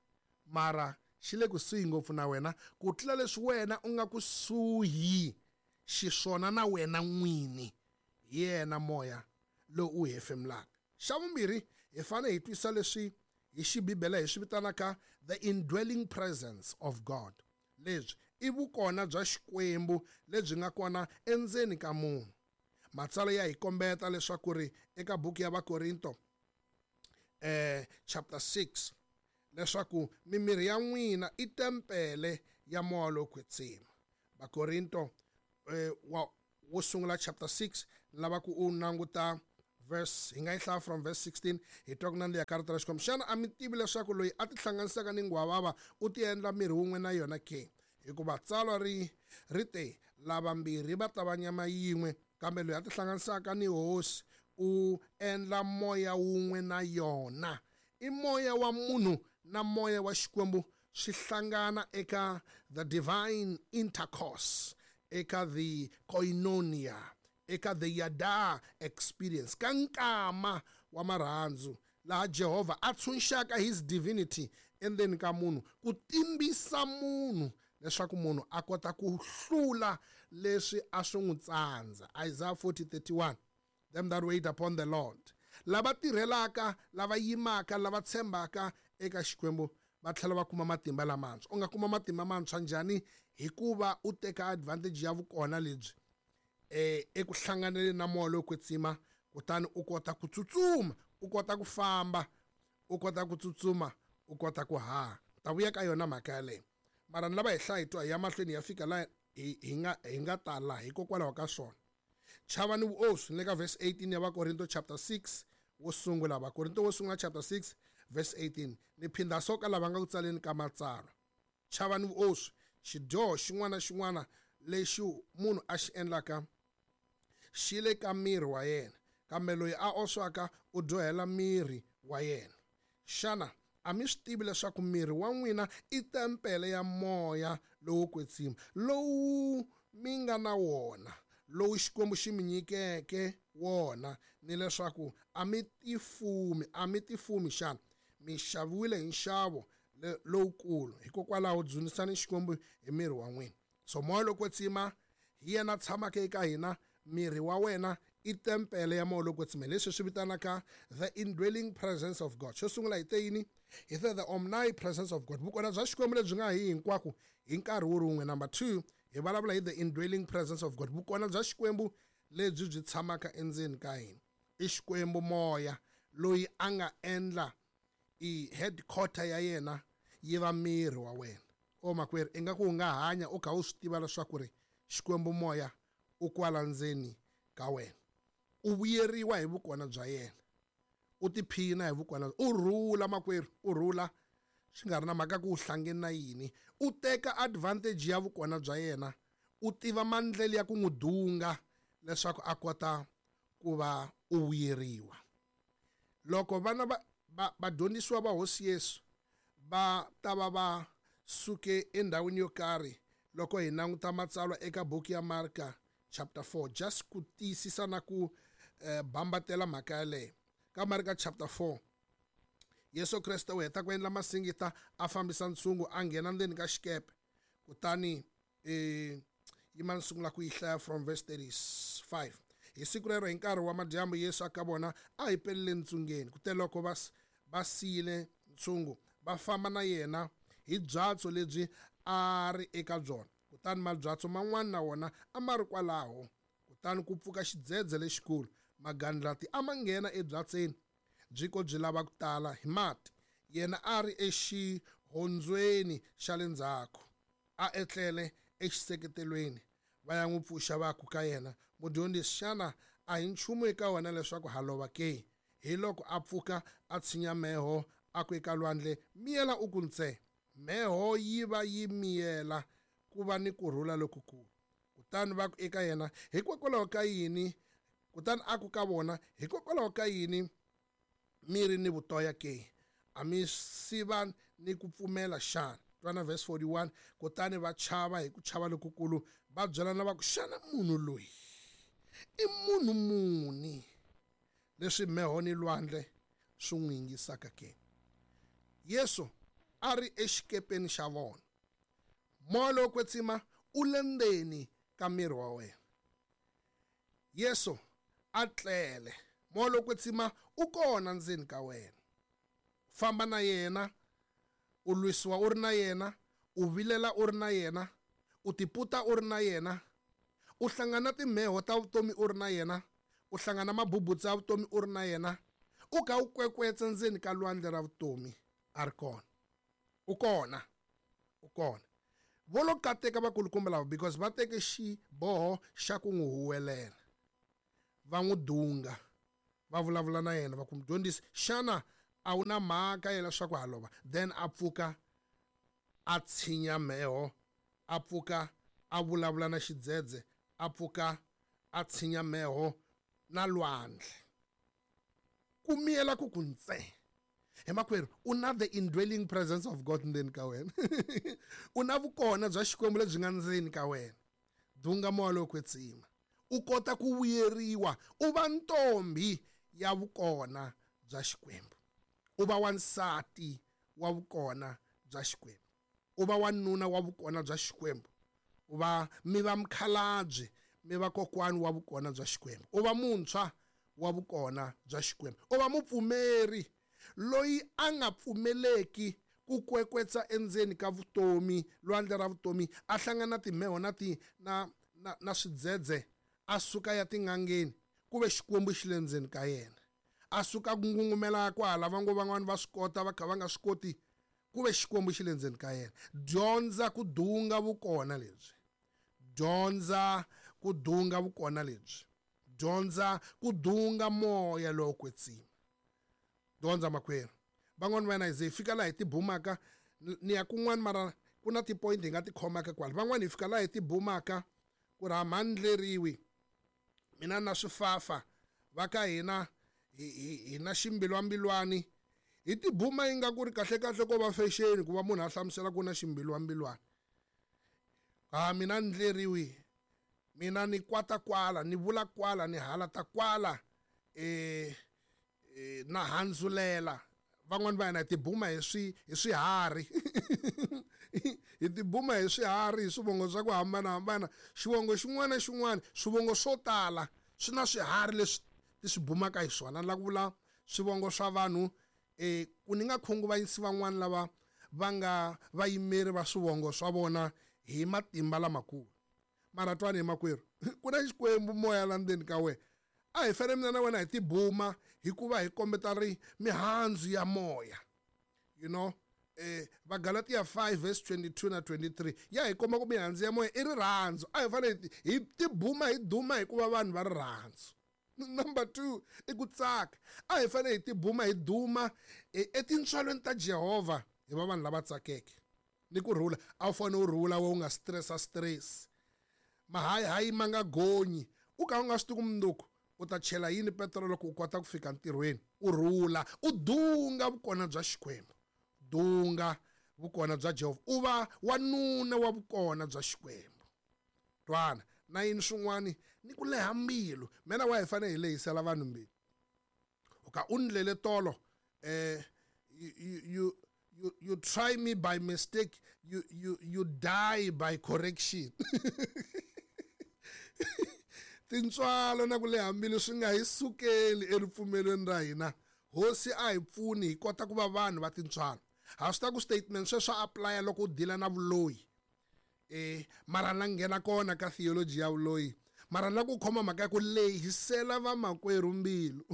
Speaker 4: mara xi le kusuhi ngopfu na wena ku tlula leswi wena u nga kusuhi xiswona na wena n'wini. Hi yena moya lowu u hefemulaka. Xa vumbirhi, hi fanele hi twisisa leswi hi xibibele hi swi vitanaka the indwelling presence of God. Lebyi i vukona bya Xikwembu lebyi nga kona endzeni ka munhu. Matsalwa ya hi kombeta leswaku ri eka buku ya Vakorinto eh chapter six leswaku mimiri ya n'wina i tempele ya moya lowo kwetsima. Vakorinto eh, wa wo sungula chapter six, lava ku u languta verse, hi nga yi hlaya from verse sixteen, hi twa ku nandziha ka rito ra Xikwembu. Xana a mi tivi leswaku loyi a tihlanganisaka ni nghwavava u ti endla miri wun'we na yona ke? Hikuva tsalwa ri ri te, lavambirhi va ta va nyama yin'we, kambe loyi a tihlanganisaka ni hosi u endla moya wun'we na yona. I moya wa munhu na moya wa Xikwembu swi hlangana eka the divine intercourse, eka the koinonia, eka the yada experience, ka nkama wa marhandzu laha Jehovha a tshunxaka his divinity endzeni ka munhu ku timbisa munhu leswaku munhu a kota ku hlula leswi a swi n'wi tsandza. Isaiah forty thirty-one, them that wait upon the Lord, lava tirhelaka, lava yimaka, lava tshembaka eka Xikwembu va tlhela va kuma matimba lamantshwa. U nga kuma matimba mantshwa njhani? Hikuva u teka advantage ya vukona lebyi eh eku hlanganeleni na moya lowo kwetsima, kutani u kota ku tsutsuma, u kota ku famba, u kota ku tsutsuma, u kota ku haha. Ta vuya ka yona mhaka yaleyo, mara ni lava hi hlaya hi twa hi ya mahlweni hi ya fika laha hi, hi nga, hi nga ta laha hikokwalaho ka swona. Chavani vuoswi, ni le ka verse eighteen ya Vakorinto chapter six wo sungula. Vakorinto wo sungula chapter six verse eighteen. Ni phindha so ka lava nga ku tsaleni ka matsalwa. Chavani vuoswi, xidyoho xin'wana na xin'wana lexi munhu a xi endlaka xi le ka miri wa yena, kambe loyi a oswaka u dyohela miri wa yena. Xana a mi swi tivi leswaku miri wa n'wina i tempele ya moya lowo kwetsima lowu mi nga na wona, lowu Xikwembu xi mi nyikeke wona, ni leswaku a mi tifumi, a mi tifumi xana? Mi xaviwile hi nxavo lowukulu, hikokwalaho dzunisani Xikwembu hi miri wa n'wina. So moya lowo kwetsima hi yena tshamaka eka hina. Miri wa wena i tempele ya moya lowo kwetsima, leswi swi vitanaka the indwelling presence of God. Xo sungula hi te yini? Hi te the omnipresence of God, vukona bya Xikwembu lebyi nga hi hinkwako hi nkarhi wu ri wun'we. Number two, hi vulavula hi the indwelling presence of God, vukona bya Xikwembu lebyi byi tshamaka endzeni ka hina. I Xikwembu moya loyi a nga endla i headquarter ya yena yi va miri wa wena. O makwerhu, ingaku u nga hanya u kha u swi tiva leswaku ri Xikwembu moya u kwala ndzeni ka wena, u vuyeriwa hi vukona bya yena, u tiphina hi vukona, u rhula makwerhu, u rhula swi nga ri na mhaka ku u hlangene na yini. U teka advantage ya vukona bya yena, u tiva mandlele ya ku n'wi dunga leswaku a kota ku va u vuyeriwa. Loko vana va vadyondzisiwa va Hosi Yesu va ta va va suke endhawini yo karhi, loko hi languta matsalwa eka buku ya Marka chapter four, just ku tiyisisa na ku eh, bambatela mhaka yaleyo. Ka Marka chapter four, Yesu Kreste u heta ku endla masingita, a fambisa ntshungu, a nghena ndzeni ka xikepe. Kutani eh, yima ni sungula ku yi hlaya from verse thirty-five. Hi siku rero hi nkarhi wa madyambu Yesu a ka vona a hi pelele ntsungeni. Kuteloko va va siyile ntshungu, va famba na yena hi byatso lebyi a ri eka byona. Kutani mabyatso man'wana na wona a ma ri kwalaho. Kutani ku pfuka xidzedze lexikulu, magandlati a ma nghena ebyatseni, byi ko byi lava ku tala hi mati. Yena a ri exihondzweni xa le ndzhaku, a etlele exiseketelweni. Va ya n'wi pfuxa va ku ka yena, mudyondzisi, xana a hi nchumu eka wena leswaku ha lova ke? Hi loko a pfuka a tshinya mheho, a ku eka lwandle, miyela u ku ntse. Mheho yi va yi miyela, ku va ni kurhula lokukulu. Kutani va ku eka yena, hikokwalaho ka yini? Kutani a ku ka vona, hikokwalaho ka yini mi ri ni vutoya ke? A mi siva ni ku pfumela xana? Twana verse forty-one. Kutani va chava hi ku chava lokukulu, va byelana va ku, xana munhu loyi i munhu muni leswi mheho ni lwandle swi n'wi yingisaka ke? Yesu a ri exikepeni xa vona. Moya lowo kwetsima u le ndzeni ka miri wa wena. Yesu a tlele. Moya lowo kwetsima u kona ndzeni ka wena. Famba na yena, u lwisiwa u ri na yena, u vilela u ri na yena, u tiputa u ri na yena, u hlangana timheho ta vutomi u ri na yena, u hlangana mabubutsa ya vutomi u ri na yena, u ka u kwekwetsa ndzeni ka lwandle ra vutomi, a ri kona. U kona. U kona. Vo lo kateka vakulukumba lava because va teke xiboho xa ku n'wi huwelela. Va n'wi dunga, va vulavula na yena, va ku, mudyondzisi, xana a wu na mhaka ya leswaku ha lova? Then a pfuka a tshinya mheho, a pfuka a vulavula na xidzedze, a pfuka a tshinya mheho na lwandle. Ku miyela ku ku ntse. He makwerhu, u na the indwelling presence of God ndzeni ka wena. U na vukona bya Xikwembu lebyi nga ndzeni ka wena. Dunga moya lowo kwetsima, u kota ku vuyeriwa, u va ntombi ya vukona bya Xikwembu, u va wansati wa vukona bya Xikwembu, u va wanuna wa vukona bya Xikwembu, u va mi va mukhalabye, mi va kokwani wa vukona bya Xikwembu, u va muntshwa wa vukona bya Xikwembu, u va mupfumeri loyi a nga pfumeleki ku kwekwetsa endzeni ka vutomi, lwandle ra vutomi, a hlangana timheho na ti na na, na swidzedze, a suka ya tin'angeni, ku ve Xikwembu xi le ndzeni ka yena. A suka ku ngungumela kwala, va ngo van'wani va swi kota, va kha va nga swi koti, ku ve Xikwembu xi le ndzeni ka yena. Dyondza ku dunga vukona lebyi. Dyondza ku dunga vukona lebyi. Dyondza ku dunga moya lowo kwetsima. Dyondza makwerhu. Van'wani va hina hi ze hi fika laha hi tibumaka, ni ya kun'wana mara ku na ti-point hi nga ti khomaka kwala. Van'wani hi fika laha hi tibumaka ku ri ha ndleriwi mina na swifafa va ka hina hi hi hi na ximbilwambilwani. Hi tibuma yi nga ku ri kahle kahle ko va fashion ku va munhu a hlamusela ku na ximbilwambilwani. Ha mina ndleriwi, mina ni kwata kwala, ni vula kwala, ni halata kwala, eh eh na handzulela. Van'wani va hina hi tibuma hi swi hi swiharhi. Hi tibuma hi swiharhi, hi swivongo swa ku hambanahambana. Xivongo xin'wana na xin'wana, swivongo swo tala swi na swiharhi leswi ti swi bumaka hi swona. Ni lava ku vula swivongo swa vanhu, eh ku ni nga khunguvanyisi van'wani lava va nga vayimeri va swivongo swa vona hi matimba lamakulu. Mara twani hi makwerhu, ku na Xikwembu moya la ndzeni ka wena. A hi fanele mina na wena hi tibuma hikuva hi kombeta ri mihandzu ya moya. You know, eh Vagalatia five verse twenty-two na twenty-three ya hi komba ku mihandzu ya moya i rirhandzu. A hi fanele hi tibuma hi duma hikuva vanhu va rirhandzu. Number two i ku tsaka. A hi fanele hi tibuma hi duma etintswalweni ta Jehovha hi va vanhu lava tsakeke. Ni ku rhula, a wu fanele u rhula we u nga stressa stress. Mahayihayi ma nga gonyi, u ka u nga swi tivi ku mundzuku u ta chela yini petrol loko u kota ku fika ntirhweni. U rhula, u dunga vukona bya Xikwembu, dunga vukona bya Jehovha, u va wanuna wa vukona bya Xikwembu. Twana na yini swin'wani ni ku leha mbilu. Mina wa hi fanele hi lehisela vanhu mbilu. U ka u ndlele tolo, eh you, you, you, you try me by mistake, you, you, you die by correction. Tintswalo na ku leha mbilu swi nga hi sukeli eripfumelweni ra hina. Hosi a hi pfuni hi kota ku va vanhu va tintswalo. Ha swi ta ku statement sweswo swa apply loko u deala na vuloyi. Eh mara la nghena kona ka theology ya vuloyi. Mara la ku khoma mhaka ya ku lehisela vamakwerhu mbilu.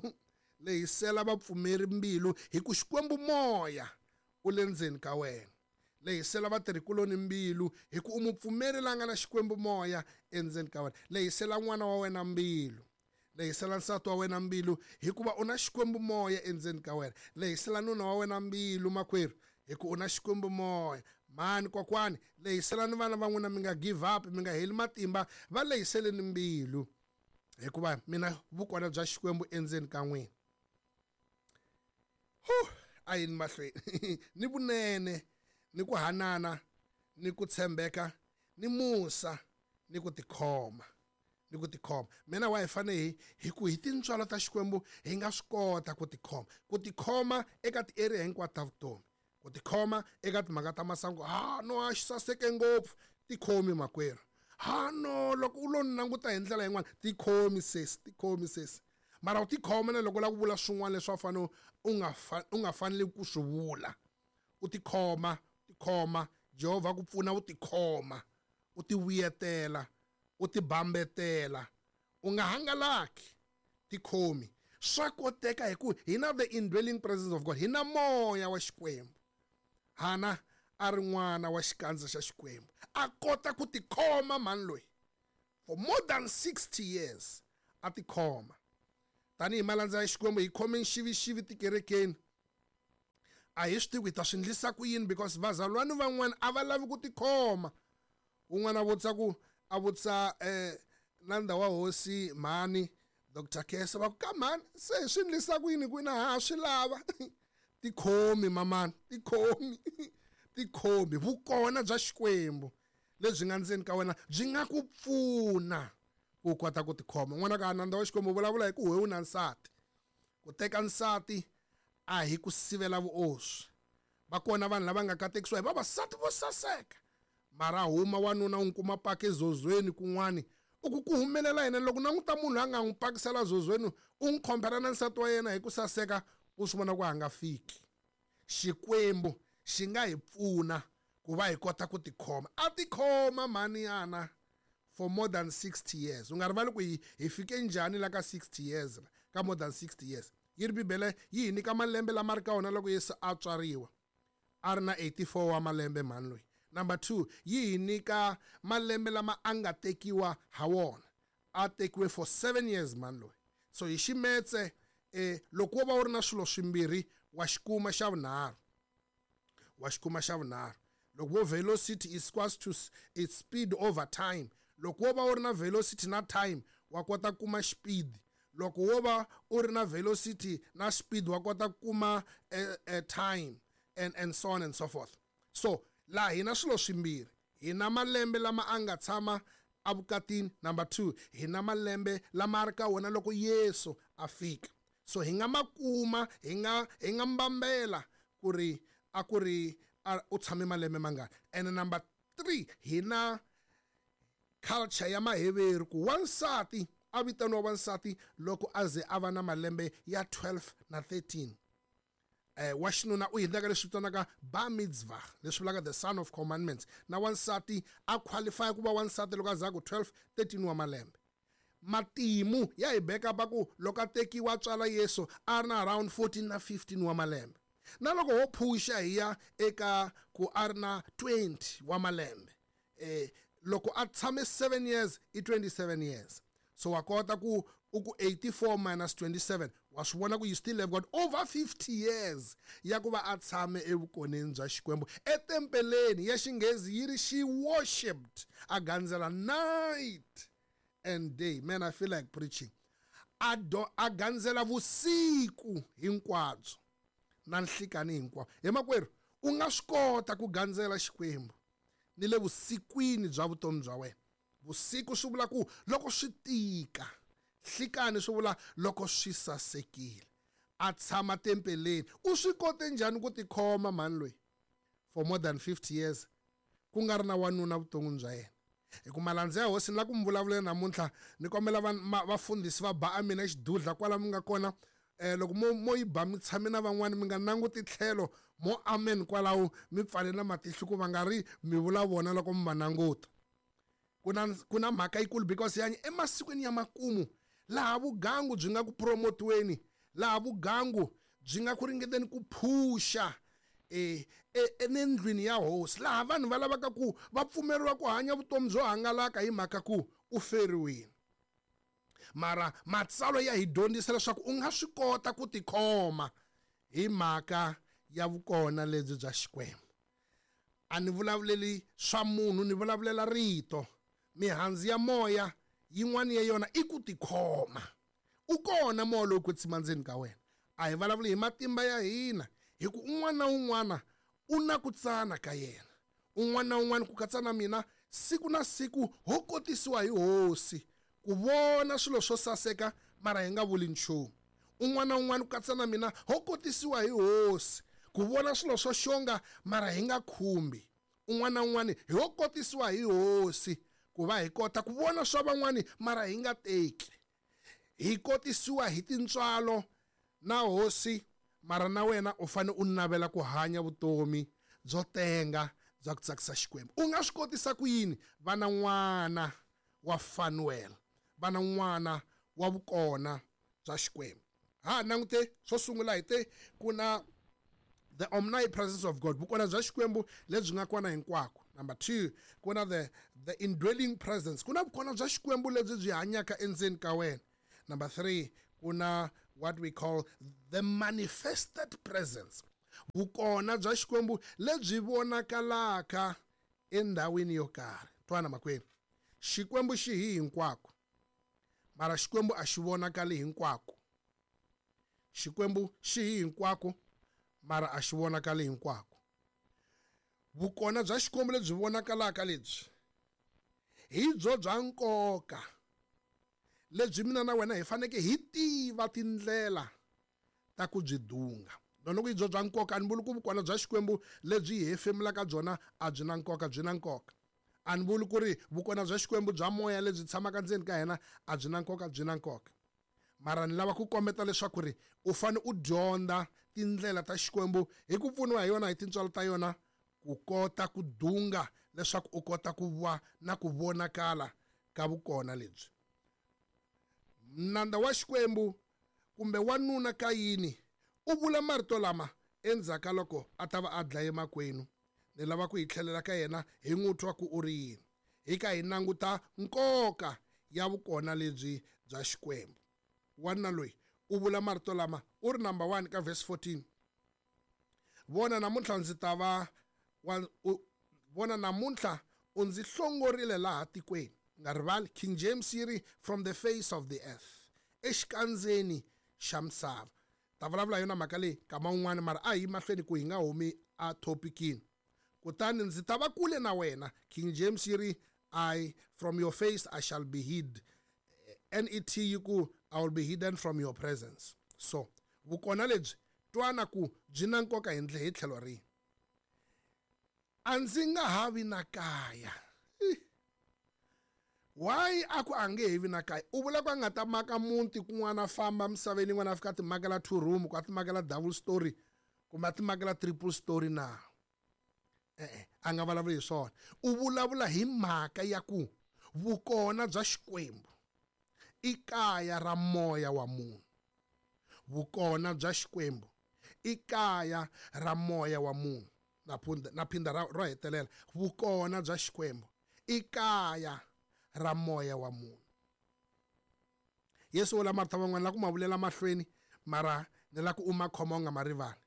Speaker 4: Lehisela vapfumeri mbilu hi ku Xikwembu moya u le ndzeni ka wena. Lehisela vatirhikuloni mbilu hi ku u mupfumeri la nga na Xikwembu moya endzeni ka wena. Lehisela n'wana wa wena mbilu. Lehisela nsati wa wena mbilu hikuva u na Xikwembu moya endzeni ka wena. Lehisela nuna wa wena mbilu makwerhu hi ku u na Xikwembu moya. Mhani kokwani, lehiselani vana va n'wina, mi nga give up, mi nga heli matimba, va lehiseleni mbilu hikuva mina vukona bya Xikwembu endzeni ka n'wina. Huh, a yini mahlweni. Ni vunene, ni ku hanana, ni ku tshembeka, ni musa, ni ku tikhoma, ni ku tikhoma. Mina wa hi fanele hi hi ku hi tintswalo ta Xikwembu hi nga swi kota ku tikhoma, ku tikhoma eka ti-area hinkwato ta vutomi, ku tikhoma eka timhaka ta masangu. Ha no, a xi saseke ngopfu, tikhomi makwerhu. Ha no, loko u lo languta hi ndlela yin'wana, tikhomi sesi, tikhomi sesi. Mara u tikhoma na loko u lava ku vula swin'wana leswi a fanele u nga u nga faneli ku swi vula. U tikhoma, tikhoma, Jehovha ku pfuna u tikhoma, u tivuyetela, u tibambetela, u nga hangalaki, tikhomi. Swa koteka hi ku hi na the indwelling presence of God, hi na moya wa Xikwembu. Hana a ri n'wana wa xikandza xa Xikwembu, a kota ku tikhoma mhani loyi for more than sixty years, a tikhoma. Tanihi malandza ya Xikwembu hi khome nxivixivi tikerekeni. A hi swi tivi ku hi ta swi endlisa ku yini because vazalwana van'wana a va lavi ku tikhoma. Un'wana a vutisa ku a vutisa eh nandza wa hosi mhani Doctor Kesa, va ku ka mhani se hi swi endlisa ku yini ku na ha swi lava. Tikhomi mamani, tikhomi, tikhomi. Vukona bya Xikwembu lebyi nga ndzeni ka wena byi nga ku pfuna ku kota ku tikhoma. N'wana ka nandza wa Xikwembu vulavula hi ku wewe na nsati. Ku teka nsati a hi ku sivela vuoswi. Va kona vanhu lava nga katekisiwa hi vavasati vo saseka, mara huma wanuna u n'wi kuma paka ezozweni kun'wani, u ku ku humelela yena. Loko languta munhu a nga n'wi pakisela zozweni, u n'wi khompera na nsati wa yena hi ku saseka, u swi vona ku a nga fiki. Xikwembu xi nga hi pfuna ku va hi kota ku tikhoma. A tikhoma mhani yana for more than sixty years. U nga rivali ku hi hi fike njhani la ka sixty years, ka more than sixty years. Yi ri Bibele yi hi nyika malembe lama ri ka wona loko Yesu a tswariwa, a ri na eighty-four wa malembe mhani loyi. Number two, yi hi nyika malembe lama a nga tekiwa ha wona, A tekiwe for seven years mani loyi. So hi ximetse eh loko wo va u ri na swilo swimbirhi wa xikuma xa vunharhu. Wa xikuma xa vunharhu. Loko vo velocity is equals to its speed over time. Loko wo va u ri na velocity na time wa kota ku kuma speed. Loko wo va u ri na velocity na speed wa kota ku kuma eh, time and and so on and so forth. So la hina swilo swimbirhi. Hina malembe lama a nga tshama evukatini. Number two, hina malembe lama a ri ka wona loko Yesu a fika. So hi nga makuma, hi nga hi nga mbambela ku ri a ku ri u tshame malembe mangani. And number three, hina culture ya Maheveru ku wansati a vitaniwa wansati loko a ze a va na malembe ya twelve na thirteen. Eh wa xinuna u hindza ka leswi vitaniwaka bar mitzvah, leswi vulaka the son of commandments. Na wansati a qualify ku va wansati loko a za ku twelve thirteen wa malembe. Matimu ya hi beka pa ku loko a tekiwa tswala Yesu a ri na around fourteen na fifteen wa malembe. Na loko ho phusha hi ya eka ku a ri na twenty wa malembe. Eh loko a tshame seven years i twenty-seven years. So wa kota ku u ku eighty-four minus twenty-seven wa swi vona ku you still have got over fifty years ya ku va a tshame evukoneni bya Xikwembu etempeleni ya Xinghezi yi ri she worshipped, a gandzela night and day. Man, I feel like preaching. A do a gandzela vusiku hinkwabyo na nhlikani hinkwabyo. He makwerhu, u nga swi kota ku gandzela Xikwembu ni le vusikwini bya vutomi bya wena. Vusiku swi vula ku loko swi tika, nhlikani swi vula loko swi sasekile. A tshama tempeleni. U swi kote njhani ku tikhoma mhani loyi for more than fifty years ku nga ri na wanuna vuton'wini bya yena? Hi ku malandza ya hosi ni la ku mi vulavulela namuntlha, ni kombela vafundhisi va ba a mina xidudla kwala mi nga kona. Eh loko mo mo yi ba mi tshame na van'wani mi nga languti tlhelo, mo amen kwalaho mi pfale na matihlo ku va nga ri mi vula vona loko mi va languta. Kuna kuna mhaka yikulu because yanyi emasikwini ya makumu laha vugangu byi nga ku promotiweni, laha vugangu byi nga ku ringeteni ku phusha eh endlwini ya hosi, laha vanhu va lavaka ku va pfumeriwa ku hanya vutomi byo hangalaka hi mhaka ku u feriwile. Mara matsalwa ya hi dyondzisa leswaku u nga swi kota ku tikhoma hi mhaka ya vukona lebyi bya Xikwembu. A ni vulavuleli swa munhu, ni vulavulela rito. Mihandzu ya moya yin'wana ya yona i ku tikhoma. U kona moya lowu kwetsima ndzeni ka wena. A hi vulavuli hi matimba ya hina, hi ku un'wana na un'wana u na ku tsana ka yena. Un'wana na un'wana ku katsa na mina, siku na siku ho kotisiwa hi hosi ku vona swilo swo saseka mara hi nga vuli nchumu. Un'wana na un'wana ku katsa na mina ho kotisiwa hi hosi ku vona swilo swo xonga mara hi nga khumbi. Un'wana na un'wana hi ho kotisiwa hi hosi ku va hi kota ku vona swa van'wani mara hi nga teki. Hi kotisiwa hi tintswalo na hosi, mara na wena u fane u navela ku hanya vutomi byo tenga bya ku tsakisa Xikwembu. U nga swi kotisa ku yini? Va na n'wana wa Fanuel, va na n'wana wa vukona bya Xikwembu. Ha langute swo sungula hi te ku na the omnipresence of God, vukona bya Xikwembu lebyi nga kona hinkwako. Number two, ku na the the indwelling presence, ku na vukona bya Xikwembu lebyi byi hanyaka endzeni ka wena. Number three, ku na what we call the manifested presence, vukona bya Xikwembu lebyi vonakalaka endhawini yo karhi. Twana makwenu, Xikwembu xi hi hinkwako, mara Xikwembu a xi vonakali hinkwako. Xikwembu xi hi hinkwako, mara a xi vonakali hinkwako. Vukona bya Xikwembu lebyi vonakalaka lebyi hi byo bya nkoka lebyi mina na wena hi faneke hi tiva tindlela ta ku byi dunga. Loko hi byo bya nkoka, a ni vuli ku vukona bya Xikwembu lebyi hi hefemulaka byona a byi na nkoka, byi na nkoka. A ni vuli ku ri vukona bya Xikwembu bya moya lebyi tshamaka ndzeni ka hina a byi na nkoka, byi na nkoka. Mara ni lava ku kombeta leswaku ri u fane u dyondza tindlela ta Xikwembu hi ku pfuniwa hi yona, hi tintswalo ta yona, ku kota ku dunga leswaku u kota ku va na ku vonakala ka vukona lebyi. Nandza wa Xikwembu kumbe wanuna Kayini u vula marito lama endzhaku ka loko a ta va a dlaye makwenu. Ni lava ku hi tlhelela ka yena hi n'wi twa ku u ri yini. Hi ka hi languta nkoka ya vukona lebyi bya Xikwembu. Wanuna loyi u vula marito lama u ri number one ka verse fourteen. Vona namuntlha ndzi ta va vona namuntlha u ndzi hlongorile laha tikweni. Nga rivali King James yi ri from the face of the earth, exikandzeni xa misava. Ta vulavula yona mhaka leyi kama un'wana mara a hi mahlweni ku hi nga humi a topicini. Kutani ndzi ta va kule na wena. King James yi ri I from your face I shall be hid. N E T yi ku I will be hidden from your presence. So vukona lebyi twana ku byi na nkoka hi ndlela hi tlhelo rihi. A ndzi nga ha vi na kaya. Why a ku a nge he vi na kaya? U vula ku a nga ta maka muti kun'wana famba misaveni yin'wana a fika a ti makela two room, ku a ti makela double story kumbe a ti makela triple story na. E-e, a nga vulavuli hi swona. U vulavula hi mhaka ya ku vukona bya Xikwembu i kaya ra moya wa munhu. Vukona bya Xikwembu i kaya ra moya wa munhu. Na phunda na phinda ro hetelela. Vukona bya Xikwembu i kaya ra moya wa munhu. Yesu vula marito man'wana la ku ma vulela mahlweni mara ni la ku u ma khoma u nga ma rivali.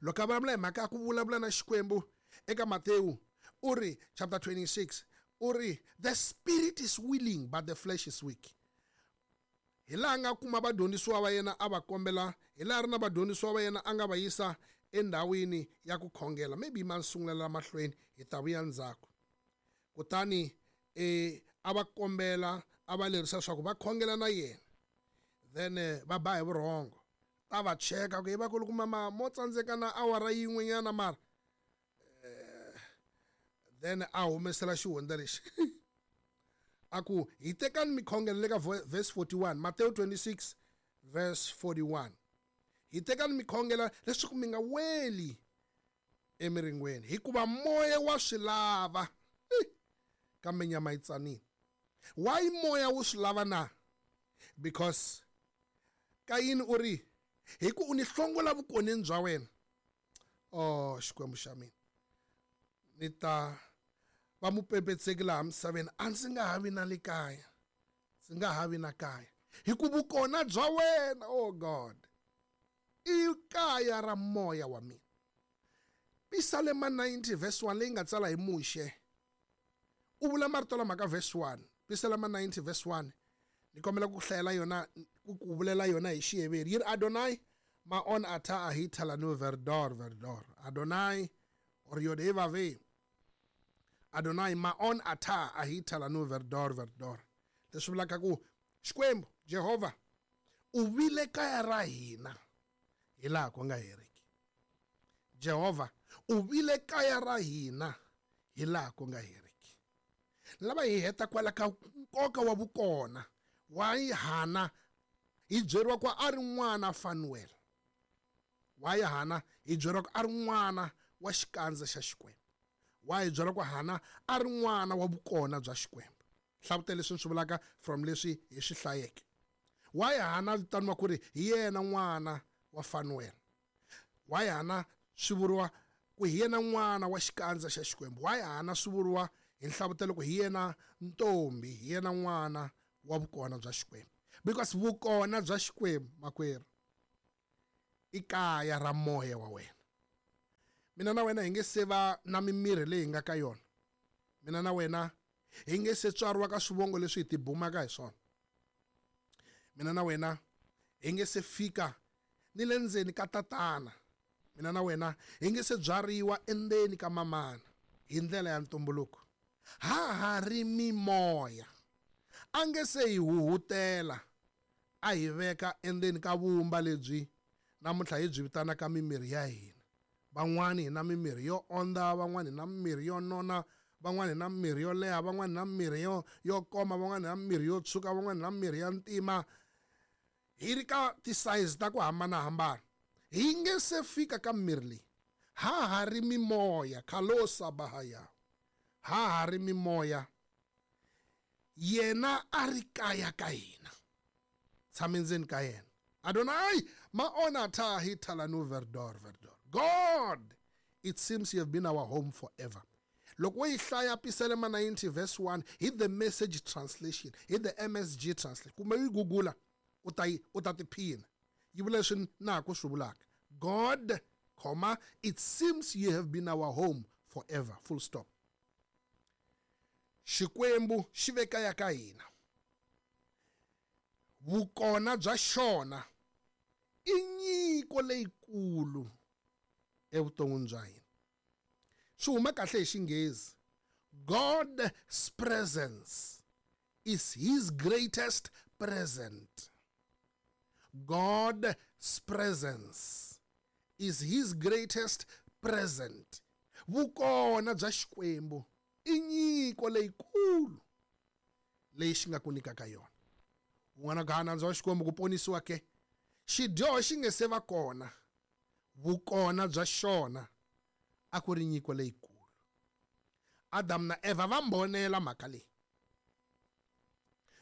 Speaker 4: Loko a vulavula hi mhaka ya ku vulavula na Xikwembu eka Matewu u ri chapter twenty-six u ri the spirit is willing but the flesh is weak. Hi laha nga kuma vadyondzisiwa va yena a va kombela, hi laha ri na vadyondzisiwa va yena a nga va yisa endhawini ya ku khongela. Maybe ma sungulela mahlweni hi ta vuya ndzhaku. Kutani eh a va kombela a va lerisa leswaku va khongela na yena, then va ba hi vurhongo. Ta va cheka ku hi va ku loko mama mo tsandzeka na awara yin'wenyana mara then a humesela xihundla lexi. A ku hi tekani mikhongelo le ka verse forty-one, Matthew twenty-six verse forty-one. Hi tekani mikhongelo leswaku mi nga weli emiringweni, hikuva moya wa swi lava kambe nyama yi tsanile. Why moya wu swi lava na? Because Kayini u ri hi ku u ni hlongola vukoneni bya wena. Oh Xikwembu xa mina, ni ta va mupepetseki laha misaveni, a ndzi nga ha vi na le kaya, ndzi nga ha vi na kaya, hi ku vukona bya wena, oh God, i kaya ra moya wa mina. Pisalema ninety verse one leyi nga tsala hi Muxe, u vula marito lama ka verse one. Pisalema ninety verse one, ni kombela ku hlayela yona, ku ku vulela yona hi Xiheveri. Yi ri Adonai maon ata ahita lanu verdor verdor. Adonai or Yodevave. Adonai maon ata ahita lanu verdor verdor. Leswi vulaka ku Xikwembu Jehovha u vile kaya ra hina hi laha ku nga heriki. Jehovha u vile kaya ra hina hi laha ku nga heriki. Lava hi heta kwala ka nkoka wa vukona wa Hana hi byeriwa ku a ri n'wana Fanuel. Wa Hana hi byeriwa ku a ri n'wana wa xikandza xa Xikwembu. Wa hi byeriwa ku Hana a ri n'wana wa vukona bya Xikwembu. Hlavutela leswi swi vulaka from leswi hi swi hlayeke. Wa Hana vitaniwa ku ri hi yena n'wana wa Fanuel. Wa Hana swi vuriwa ku hi yena n'wana wa xikandza xa Xikwembu. Wa Hana swi vuriwa hi nhlavutelo ku hi yena ntombi, hi yena n'wana wa vukona bya Xikwembu. Because vukona bya Xikwembu makwerhu i kaya ra moya wa wena. Mina na wena hi nge se va na mimiri leyi hi nga ka yona. Mina na wena hi nge se tswariwa ka swivongo leswi hi tibumaka hi swona. Mina na wena hi nge se fika ni le ndzeni ka tatana. Mina na wena hi nge se byariwa endzeni ka mamana hi ndlela ya ntumbuluko. Ha ha ri mimoya. A nge se hi huhutela a hi veka endzeni ka vumba lebyi namuntlha hi byi vitanaka mimiri ya hina. Van'wani hi na mimiri yo onda, van'wani hi na mimiri yo nona, van'wani hi na mimiri yo leha, van'wani na mimiri yo yo koma, van'wani na mimiri yo tshuka, van'wani na mimiri ya ntima. Hi ri ka ti-size ta ku hambanahambana. Hi nge se fika ka mimiri leyi. Ha ha ri mimoya, khalosa bahaya. Ha ha ri mimoya. Yena a ri kaya ka hina. Tshame ndzeni ka yena. Adonai maona ta hitala nu verdor verdor. God, it seems you have been our home forever. Loko wo yi hlaya Pisalema ninety verse one hi the Message translation, hi the M S G translation, kumbe yi gugula u ta yi u ta tiphina. Yi vula leswi na ha ku swi vulaka. God, comma, it seems you have been our home forever. Full stop. Xikwembu xi ve kaya ka hina. Vukona bya xona i nyiko leyikulu evuton'wini bya hina. Swi huma kahle hi Xinghezi. God's presence is his greatest present. God's presence is his greatest present. Vukona bya Xikwembu i nyiko leyikulu leyi xi nga ku nyikaka yona. Un'wana ka nandzu wa Xikwembu ku ponisiwa ke xidyoho xi nge se va kona, vukona bya xona a ku ri nyiko leyikulu. Adam na Eva va mbonela mhaka leyi,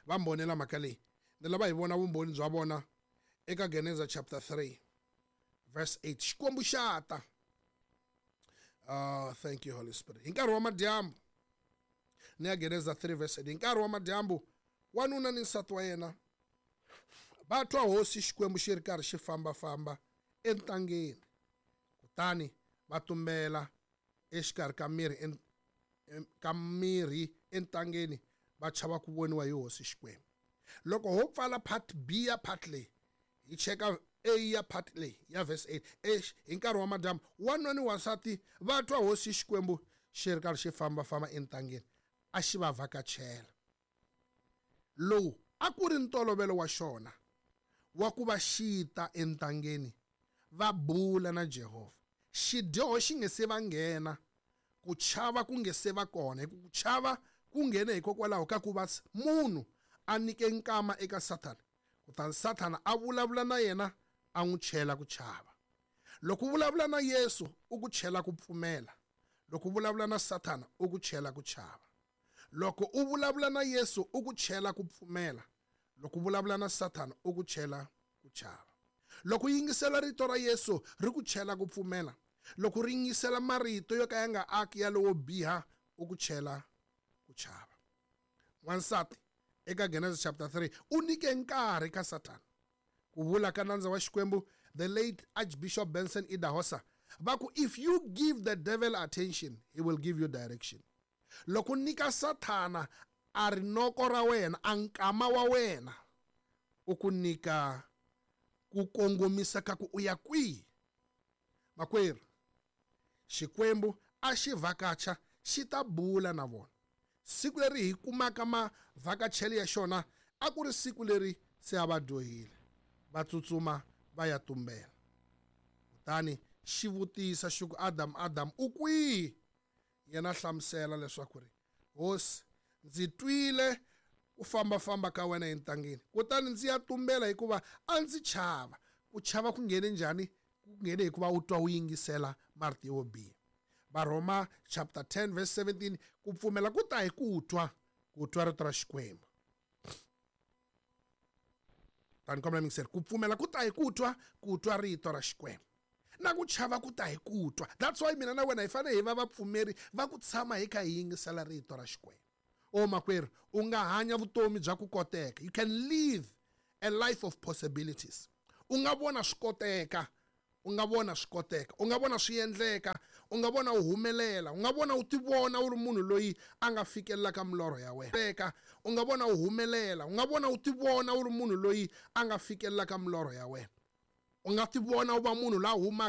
Speaker 4: va mbonela mhaka leyi. Ni lava hi vona vumbhoni bya vona eka Genesis chapter three verse eight. Xikwembu xa ta. Uh, thank you, Holy Spirit. Hi nkarhi wa madyambu, ni ya Genesis three verse eight. Hi nkarhi wa madyambu, wanuna ni nsati wa yena va twa hosi Xikwembu xi ri karhi xi fambafamba entangeni, kutani va tumbela exikarhi ka mirhi ka mirhi entangeni, va chava ku voniwa hi hosi Xikwembu. Loko ho pfala part B ya part leyi, hi cheka A ya part leyi ya verse eight. Eish, hi nkarhi wa madyambu, wanuna ni wansati va twa hosi Xikwembu xi ri karhi xi fambafamba entangeni, a xi va vhakachela. Lowu a ku ri ntolovelo wa xona wa ku va xi ta entangeni va bula na Jehovha. Xidyoho xi nge se va nghena, ku chava ku nge se va kona, hi ku chava ku nghene hikokwalaho ka ku va munhu a nyike nkama eka Sathana, kutani Sathana a vulavula na yena a n'wi chela ku chava. Loko u vulavula na Yesu u ku chela ku pfumela, loko u vulavula na Sathana u ku chela ku chava. Loko u vulavula na Yesu u ku chela ku pfumela, loko u vulavula na Sathana u ku chela ku chava. Loko u yingisela rito ra Yesu ri ku chela ku pfumela, loko ri yingisela marito yo ka ya nga aki ya lowo biha u ku chela ku chava. Wansati eka Genesis chapter three u nyike nkarhi ka Sathana. Ku vula ka nandza wa Xikwembu the late Archbishop Benson Idahosa va ku, if you give the devil attention, he will give you direction. Loko nyika Sathana a ri noko ra wena, a nkama wa wena, u ku nyika ku kongomisa ka ku u ya kwihi. Makwerhu, Xikwembu a xi vhakacha xi ta bula na vona. Siku leri hi kumaka mavhakachelo ya xona a ku ri siku leri se a va dyohile, va tsutsuma va ya tumbela. Kutani xi vutisa xi ku, Adam, Adam, u kwihi? Yena hlamusela leswaku ri, Hosi, ndzi twile ku fambafamba ka wena entangeni, kutani ndzi ya tumbela hikuva a ndzi chava. Ku chava ku nghene njhani? Ku nghene hikuva u twa u yingisela marito yo biha. Varhoma chapter ten verse seventeen, ku pfumela ku ta hi ku twa, ku twa rito ra Xikwembu. Tani kombela mingiseri, ku pfumela ku ta hi ku twa, ku twa rito ra Xikwembu. Na ku chava ku ta hi ku twa. That's why mina na wena hi fanele hi va vapfumeri va ku tshama hi kha hi yingisela rito ra Xikwembu. O makwerhu, u nga hanya vutomi bya ku koteka. You can live a life of possibilities. U nga vona swi koteka, u nga vona swi koteka, u nga vona swi endleka, u nga vona u humelela, u nga vona u tivona u ri munhu loyi a nga fikelelaka milorho ya wena. U nga vona u humelela, u nga vona u tivona u ri munhu loyi a nga fikelelaka milorho ya wena. U nga tivona u va munhu la humaka